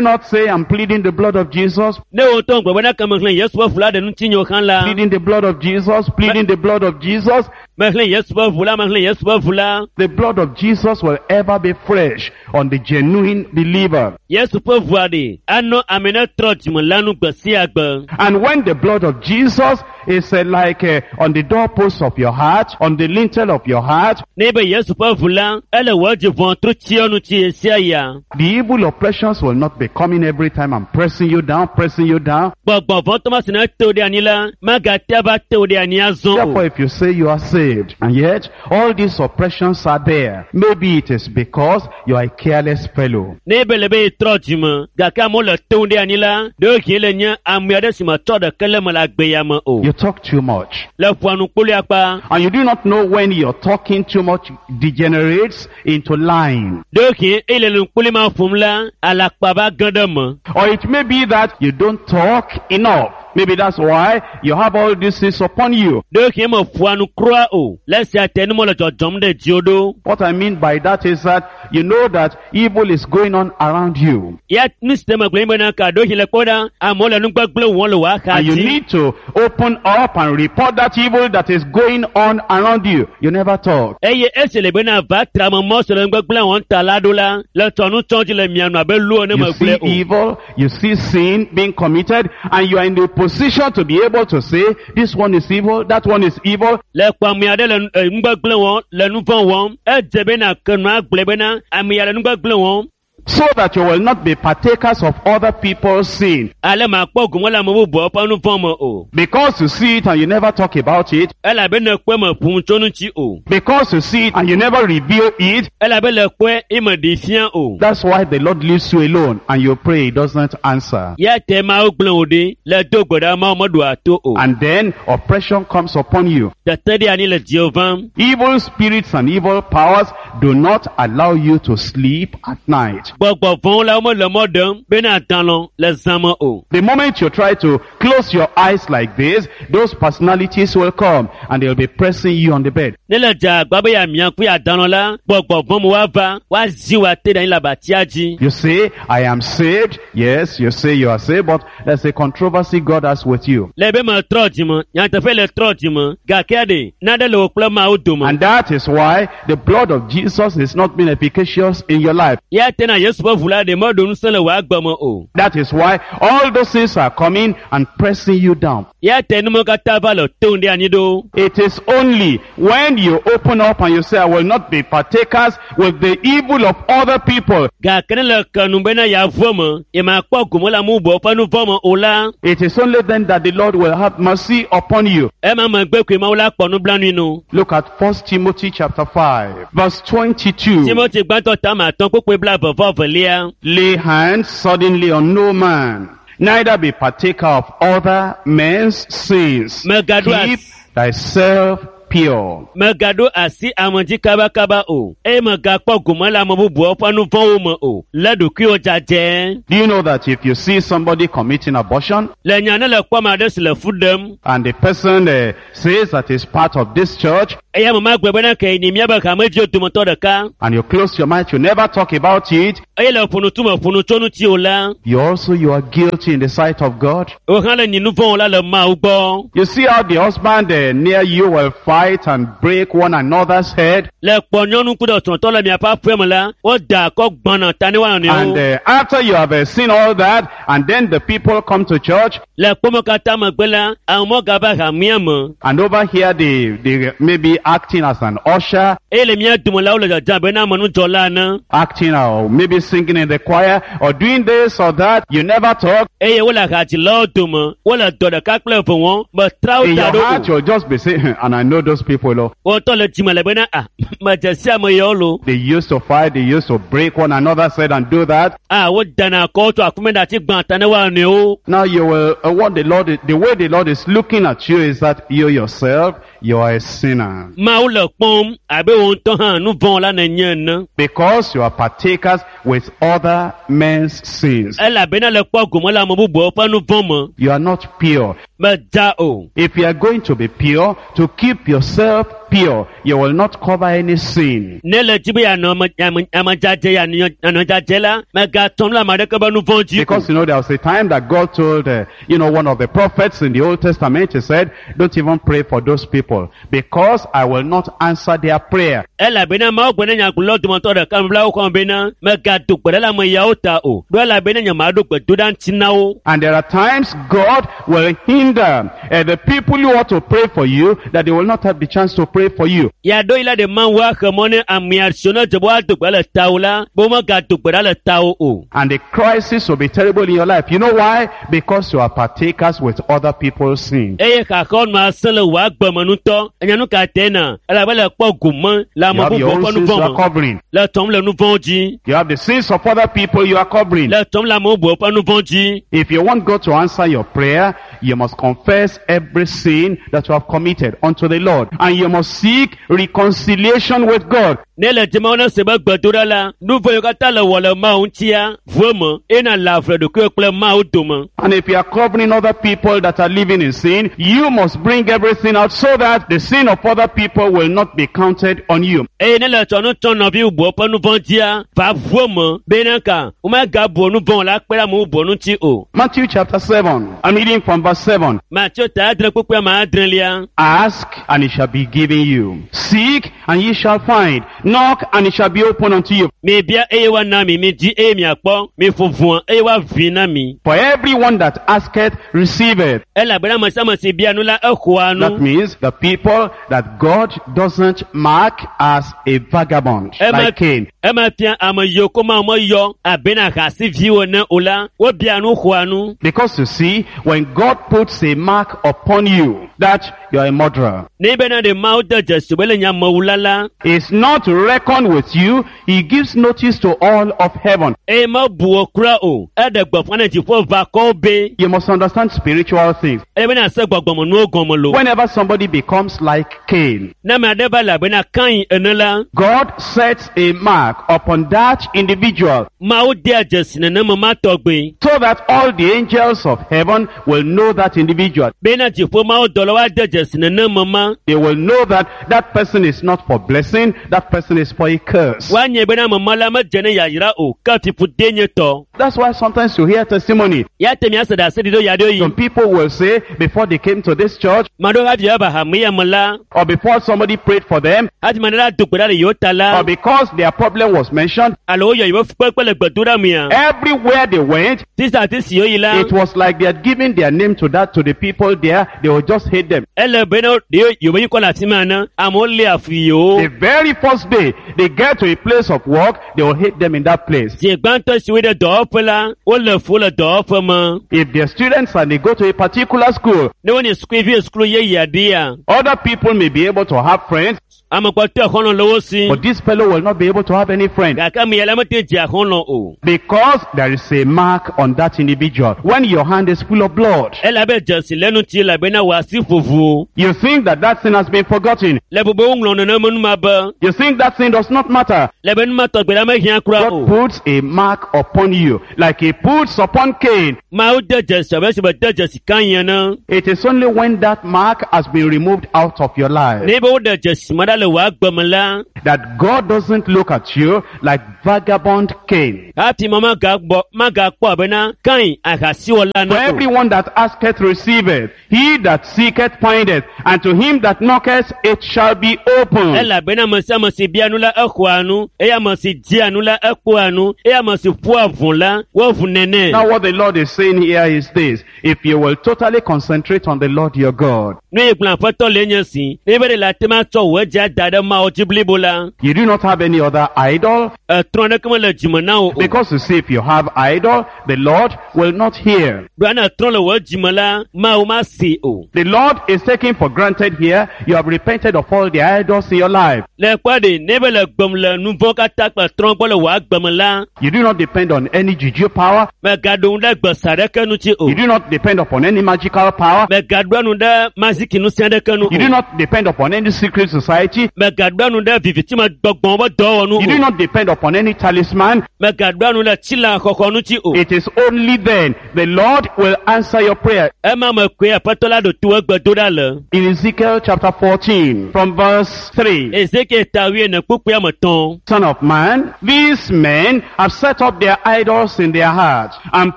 not say, I'm pleading the blood of Jesus, Ne wò ŋutɔ gblɔ be ne ke mexlẽ Yesu ƒe ʋu la ɖe ŋutinye hã la, pleading the blood of Jesus, pleading the blood of Jesus, mexlẽ Yesu ƒe ʋu la, mexlẽ Yesu ƒe ʋu la. the blood of Jesus will ever be fresh on the genuine believer. Yesu ƒe ʋua ɖe anɔ ame ne trɔ dzime la nu gbe sia gbe. And when the blood of Jesus is uh, like uh, on the doorpost of your heart, on the lintel of your heart, Ne be Yesu ƒe ʋu la, ele wò dzi ʋɔtru tsiɔ nu tsi ɣe sia ɣia. the evil oppressions will not be coming every time and pressing you down, pressing you down. Gbɔgbɔ vɔ̃ tɔ ma si ne te wo ɖe anyi la, magate ava te wo ɖe anyi azɔ Therefore, o. if you say you are saved, and yet all these oppressions are there, maybe it is because you are a careless fellow. Ne be le be yetrɔ dzime, gake amewo le te wo ɖe anyi la, ɖewohĩ le nye ame aɖe si metsɔ ɖeke le me le agbe ya me o. You talk too much. Le ƒoa nu kpoloe akpa, And you do not know when your talking too much degenerates into lying. ɖewohĩ eye le nu kpoloe ma ƒom la, alakpa va ge ɖe me. Or it may be that you don't talk enough. Maybe that's why you have all these things upon you. Ɖewohĩ me ƒoa nu kura o, le esia te nu mele dzɔdzɔm ɖe dziwò ɖo. What I mean by that is that you know that evil is going on around you. Ya nu si te megblɔ nye bena ka ɖewohĩ le kpɔ ɖa, amewo le nugbegblẽ wɔm le wò axa And you dzi. need to open up and report that evil that is going on around you. You never talk. Eye esi le bena va tra me mɔ si le nugbegblẽ wɔm ta la ɖo la, le tsɔ nu tsɔ dzi le mia nu abe lu ene You megblẽ see o. evil, you see sin being committed, and you are in the position to be able to say, this one is evil, that one is evil. Le kpɔ ame aɖe le nu- eh, nugbegblẽ wɔm, le nu vɔ̃ wɔm, edze bena ke nua gblɔe bena ame ya le nugbegblẽ wɔm. So that you will not be partakers of other people's sin. Ale makpɔ gome le ame bubuawo ƒe nu vɔ̃ me o. Because you see it and you never talk about it. Elabe ne kpɔe me ƒo nu tso ŋuti o. Because you see it and you never reveal it. Elabe le kpɔe eme ɖee fia o. That's why the Lord leaves you alone and you pray, He doesn't answer. Ya te Mawu gblẽ wò ɖi le do gbe ɖa Mawu meɖoa to o. And then oppression comes upon you. Tete ɖe anyi le dziwò vam. Evil spirits and evil powers do not allow you to sleep at night. Gbɔgbɔ vɔ̃wo la womele mɔ ɖem bena dalɔ le zã me o. The moment you try to close your eyes like this, those personalities will come and they'll be pressing you on the bed. Ne le dze agba be yeamia ŋku yeadalɔ la, gbɔgbɔ vɔ̃ me woava, woazi wò ate ɖe anyi le abatia dzi. You say, I am saved. Yes, you say you are saved, but there's a controversy God has with you. Le be metrɔ dzime, nyateƒe le trɔ dzime, gake ɖe naɖe le wò kple Mawu dome. And that is why the blood of Jesus is not being efficacious in your life. Ya te na Yesu ƒe ʋu la ɖe meɖo ŋusẽ le wò agbe me o. That is why all those things are coming and pressing you down. Ya te nume katã va le tom ɖe anyi ɖo. It is only when you open up and you say, I will not be partakers with the evil of other people. Gake ne le ke nu bena yeavu eme, yemakpɔ gome le ame bubuawo ƒe nu vɔ̃ me o la, It is only then that the Lord will have mercy upon you. ema megbe koe Mawu la kpɔ nublanui no. Look at First Timothy chapter five, verse twenty-two. Timothy gbãtɔ ta ame atɔ̃ kpukpui blaeve vɔ evelia. Lay hands suddenly on no man, neither be partaker of other men's sins. Megaɖo Keep asi thyself pure. megaɖo asi ame dzi kabakaba o, eye megakpɔ gome le ame bubuawo ƒe nu vɔ̃wo me o. Lé ɖokuiwò dzadzɛ. Do you know that if you see somebody committing abortion, Le nya ne le kpɔ ame aɖe si le fu ɖem, and the person uh, says that is part of this church, eye ame ma gblɔ bena ke nyi míabe hamedziwo dometɔ ɖeka, and you close your mouth, you never talk about it, eye le ƒo nu tu me ƒo nu tso ŋuti o la, you also, you are guilty in the sight of God. wò hã le nyi nu vɔ̃ la le Mawu gbɔ. You see how the husband uh, near you will fight and break one another's head, Le kpɔ nyɔnu ku ɖe srɔ̃tɔ le miaƒe aƒe me la, woda akɔ gbɔna ta ne woanɔ and nɔewo. uh, after you have uh, seen all that, and then the people come to church, Le kpɔme katã megbe la, amewo gava hamea me and over here they, they may be acting as an usher, eye le mía dome la wole dzadzam abe na amenudzɔla ene. acting or maybe singing in the choir, or doing this or that. You never talk. Eye wole hadzilawo dome, wole dɔ ɖeka kple eve wɔm, metra wo In da your ɖo heart, o. you'll just be saying, and I know those people. Oh, Wotɔ le dzime le bena, ah, medze si ame yawo lo. they used to fight, they used to break one another's head and do that. Ah, wodana akɔ tso akume ɖe ati gbã ta ne woanɔ nɔewo. Now you will, uh, what the Lord, the way the Lord is looking at you is that you yourself, you are a sinner. Mawu le kpɔm abe wò ŋutɔ hã nu vɔ̃ la nènye ene. Because you are partakers with other men's sins. Elabena le kpɔ gome le ame bubuawo ƒe nu vɔ̃ me. You are not pure. Medza o. If you are going to be pure, to keep yourself pure, you will not cover any sin. Ne le dzi be yeanɔ ame ame ame dzadzɛ yeanɔ yeanɔ dzadzɛ la, mègatsɔ nu le ame aɖeke be nu vɔ̃ dzi o. Because you know there was a time that God told, uh, you know, one of the prophets in the Old Testament, he said, don't even pray for those people because I will not answer their prayer. Elabena Mawu gblɔ na nyagblɔlawo dometɔ ɖeka nubablawo xɔme bena mègado gbe ɖe le ame yawo ta o. Ɖo elabena nyemaɖo gbedoɖa ŋuti na wo. And there are times God will hinder uh, the people who ought to pray for you that they will not have the chance to pray for you. Yaɖo yi la ɖe Mawu axe mɔ ne amea siwo ne dze be woado gbe ɖa le tawò la, be womegado gbe ɖa le tawò o. And the crisis will be terrible in your life. You know why? Because you are partakers with other people's sin. Eye xaxawo nɔ asẽ le wò agbe me ŋutɔ. Enya nu ka tɛ na? Elabe le kpɔ gome le You ame have your bubuwo own ƒe nu sins you vɔ̃ are me. covering. Le tɔm le nu vɔ̃ dzi. You have the sins of other people you are covering. Le tɔm le ame bubuwo ƒe nu vɔ̃ dzi. If you want God to answer your prayer, you must confess every sin that you have committed unto the Lord. And you must seek reconciliation with God. Ne le dzime ne se be gbedoɖa la, nu vɔ̃ yiwo katã le wɔ le Mawu ŋutia, ʋu eme eye nàle ave ɖokuiwò kple Mawu dome. And if you are covering other people that are living in sin, you must bring everything out so that the sin of other people will not be counted on you. Eye ne le tsɔ nu tsɔ nɔvi bubuwo ƒe nu vɔ̃ dzia, va ʋu eme bena ka womegabu nu vɔ̃ la kpe ɖe ame bubuwo ŋuti o. Matthew chapter seven. I'm reading from verse seven. Mateo ta adre kpukpui ame adrelia. Ask, and it shall be given you. Seek, and ye shall find. Knock and it shall be opened unto you. Mi bia eye woana mi, mi di eye miakpɔ, mi ƒo ʋɔa eye woaʋui na mi. For everyone that asketh, receiveth. Elabena ame sia ame si bia nu la, exɔa That nu. means the people that God doesn't mark as a vagabond, Ema, like Cain. ema fia ame yiwo ko Mawu meyɔ abena ahasiviwo ene o la, wobia nu xɔa nu. Because you see, when God puts a mark upon you that you are a murderer, Ne bena ɖe Mawu de dzesi be le nye amewula la, is not to reckon with you, he gives notice to all of heaven. eye mebu wò kura o. Eɖe gbeƒã ne dziƒoʋakɔwo be You must understand spiritual things. ele bena se gbɔgbɔmenuwo gɔme lo. Whenever somebody becomes like Cain, Ne ame aɖe va le abena Kain ene la, God sets a mark upon that individual Mawu dea dzesi nenema ma tɔgbe so that all the angels of heaven will know that individual. bena dziƒo Mawu dɔlawo ade dzesi nenema ma. They will know that that person is not for blessing, that person is for a curse. Woanye bena ame ma la medze ne yayra o, ke fiƒode nye tɔ. That's why sometimes you hear testimony. Ya te miase ɖe asi ɖi ɖo ya ɖo yi. Some people will say before they came to this church Ame aɖewo hafi woava hame ya me la, or before somebody prayed for them hafi ame aɖe la do gbe ɖa le yewo ta la, or because their problem was mentioned, alo woyɔ yewo fukpekpe le gbedoɖa mea, everywhere they went, tisa ti si woyi la, it was like they had given their name to that to the people there. They would just hate them. ele bena ɖe yewo ŋkɔ le afi ma ene, amewo lé afu yewo. The very first day they get to a place of work, they will hate them in that place. Zi gbãtɔ si woyi ɖe dɔwɔƒe la, wole fu le dɔwɔƒe me. If they're students and they go to a particular school, Ne wonye sukuvi sukulu yeye aɖea, other people may be able to have friends, ame kpɔtɔe xɔlɔ̃ le wo si. but this fellow will not be able to have any friend. Gake ame ya la mete dze xɔlɔ̃ o. Because there is a mark on that individual. When your hand is full of blood, Elabe dzesi le ŋuti elabena wò asi ƒoʋu. you think that that sin has been forgotten. Le bube woŋlɔ nenema nu ma be, You think that sin does not matter. le be nu ma tɔgbe la mehiã kura God o. puts a mark upon you, like he puts upon Cain. Mawu de dzesi abe esi be de dzesi Kain ene. It is only when that mark has been removed out of your life Ne be woɖe dzesi ma ɖa le wò agbe me la, that God doesn't look at you like vagabond Cain. hafi ma magagbɔ magakpɔ abena Kain ahasiwɔla For ene o. everyone that asketh receiveth, he that seeketh findeth, and to him that knocketh it shall be opened. Elabena ame sia ame si bia nu la exɔa nu, eye ame si dia nu la ekpɔa nu, eye ame si ƒoa ʋu la woʋu nɛ. Now what the Lord is saying here is this, if you will totally concentrate on the Lord your God, Nu yi gblɔ aƒetɔ le nye si, ne be ɖe le ate ma tsɔ wò edzi ada ɖe Mawu dzi blibo la, you do not have any other idol, etrɔ ɖeke mele dzime na wò o. because you see if you have idol, the Lord will not hear. Ɖoa ne etrɔ le wò dzime la, Mawu ma si o. The Lord is taking for granted here, you have repented of all the idols in your life. Le kpɔ ɖe, ne be le gbem le nu vɔ̃ katã kple trɔ gbɔ le wò agbe me la, You do not depend on any juju power. mègaɖo ŋu ɖe gbesa ɖeke ŋuti o. You do not depend upon any magical power. Mègaɖoa nu ɖe maziki ŋusẽ ɖeke nu You do o. not depend upon any secret society. Mègaɖoa nu ɖe vivitime gbɔgbɔ̃ ƒe dɔwɔnu You do o. not depend upon any talisman. Mègaɖoa nu ɖe tsila xɔxɔ ŋuti o. It is only then the Lord will answer your prayer. Ema me koe aƒetɔ la ɖo to egbedoɖa le. In Ezekiel chapter fourteen, from verse three. Ezekiel ta wuiene kpukpui ame etɔ̃. Son of man, these men have set up their idols in their hearts and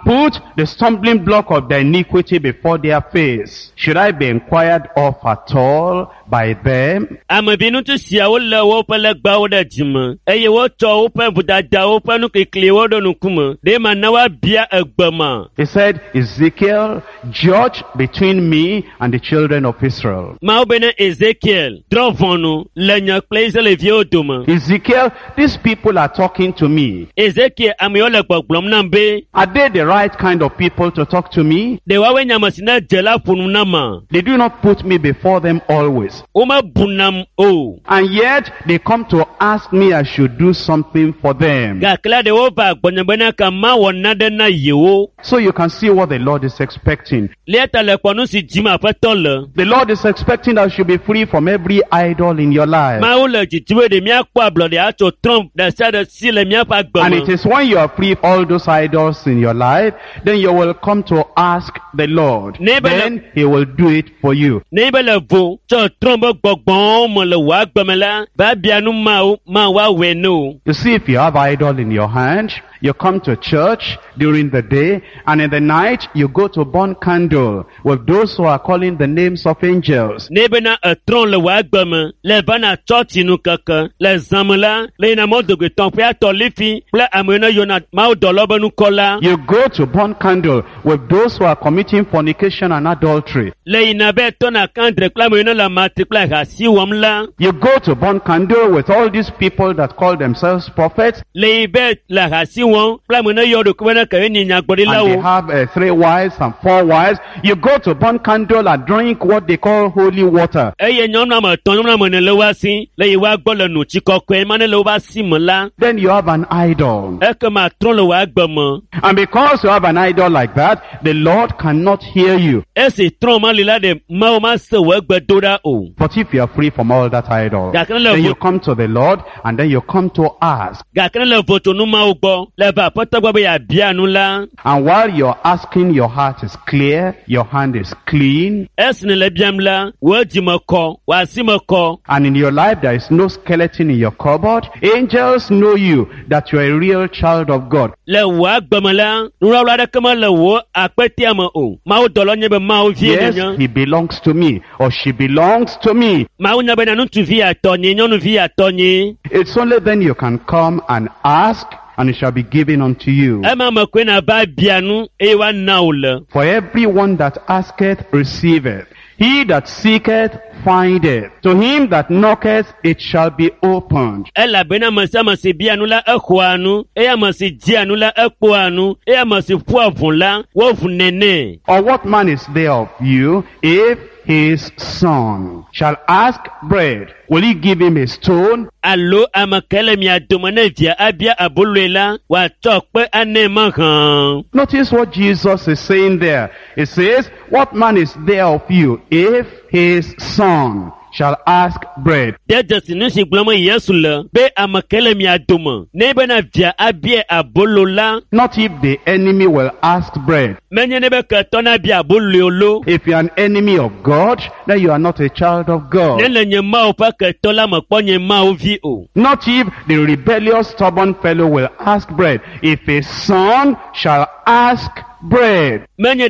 put the stumbling block of their iniquity before their face. Should I be inquired of at all by them? Ame vi ŋutsu siawo lé woƒe legbawo ɖe dzime eye wotsɔ woƒe vodadawo ƒe nukikliwo ɖo ŋkume. Ɖe mana woabia egbe ma. He said, Ezekiel, judge between me and the children of Israel. Mawu be ne Ezekiel drɔ̃ ʋɔnu le nye kple Israelviwo dome. Ezekiel, these people are talking to me. Ezekiel amewo le gbɔgblɔm nam be Are they the right kind of people to talk to me? ɖe woawoe nye ame si ne dze la ƒo nu nam ma. They do not put me before them always. Womebunam o. And yet they come to ask me I should do something for them. Gake la ɖe wova gbɔnye bena ka mawɔ naɖe na yewo. So you can see what the Lord is expecting. Lia ta le kpɔ nu si dzim aƒetɔ le. The Lord is expecting that you should be free from every idol in your life. Mawu le dzidzim be ɖe míakpɔ ablɔɖe atso trɔ̃ ɖe sia ɖe si le míaƒe agbe And it me. is when you are free of all those idols in your life, then you will come to ask the Lord. Neighbor- Then he will do it for you. Ne be le vo tso trɔ̃ be gbɔgbɔwo me le wò agbe me la, va bia nu Mawu, Mawu awɔe ne o. You see, if you have idol in your hand You come to church during the day, and in the night you go to burn candle with those who are calling the names of angels. Ne bena etrɔ̃ le wò agbe me le vana tsɔtsi nu keke le zãme la le yina mɔdogbetɔ ƒe atɔ lifi kple ame yiwo ne yɔna mawudɔlawo be ŋkɔ la You go to burn candle with those who are committing fornication and adultery. le yina be tɔna kandre kple ame yiwo ne le amatri kple ahasi wɔm la You go to burn candle with all these people that call themselves prophets le yi be le ahasi wɔm kple ame yiwo ne yɔ ɖokui bena ke nye and they nyagblɔɖilawo have uh, three wives and four wives. You go to burn candle and drink what they call holy water. eye nyɔnu ame etɔ̃ nyɔnu ame ene le wo asi le yi woa gbɔ le nu tsi kɔkɔe ma ne le woƒe asi me la Then you have an idol. ekema trɔ̃ le wò agbe me And because you have an idol like that, the Lord cannot hear you. esi trɔ̃ ma li la ɖe mawu ma se wò egbe do ɖa o But if you are free from all that idol, Gake ne le then vo- you come to the Lord and then you come to ask. gake ne le votsonu mawo gbɔ le va aƒetɔ gbɔ be yeabia nu la And while you're asking, your heart is clear, your hand is clean, esi ne le biam la wò dzime kɔ wò asi me kɔ and in your life there is no skeleton in your cupboard. Angels know you that you're a real child of God. le wò agbe me la nuwlawla aɖeke mele wò akpetea me o mawu dɔlɔ nye be mawu vie Yes, nenye he belongs to me or she belongs to me. mawu nya bena ŋutsuvi atɔ nye nyɔnuvi atɔ nye It's only then you can come and ask and it shall be given unto you. ema me koe nava bia nu eye woana wò le For everyone that asketh receiveth. He that seeketh findeth. To him that knocketh it shall be opened. elabena ame sia ame si bia nu la exɔa nu eye ame si dzia nu la ekpɔa nu eye ame si ƒoa ʋu la woʋu nɛ Or what man is there of you if his son shall ask bread? Will he give him a stone? alo ame ke le mia dome ne via abia aboloe la wòatsɔ kpe anɛ mahã. Notice what Jesus is saying there. He says, what man is there of you if his son shall ask bread? De dzesi nu si gblɔm Yesu le be ame ke le mia dome ne bena via abia abolo la Not if the enemy will ask bread. menye ne be ketɔ nabia aboloe o lo. If you are an enemy of God, then you are not a child of God. Ne le nye Mawu ƒe ketɔ la mekpɔ nye Mawu vi o. Not if the rebellious stubborn fellow will ask bread. If his son shall ask bread. Menye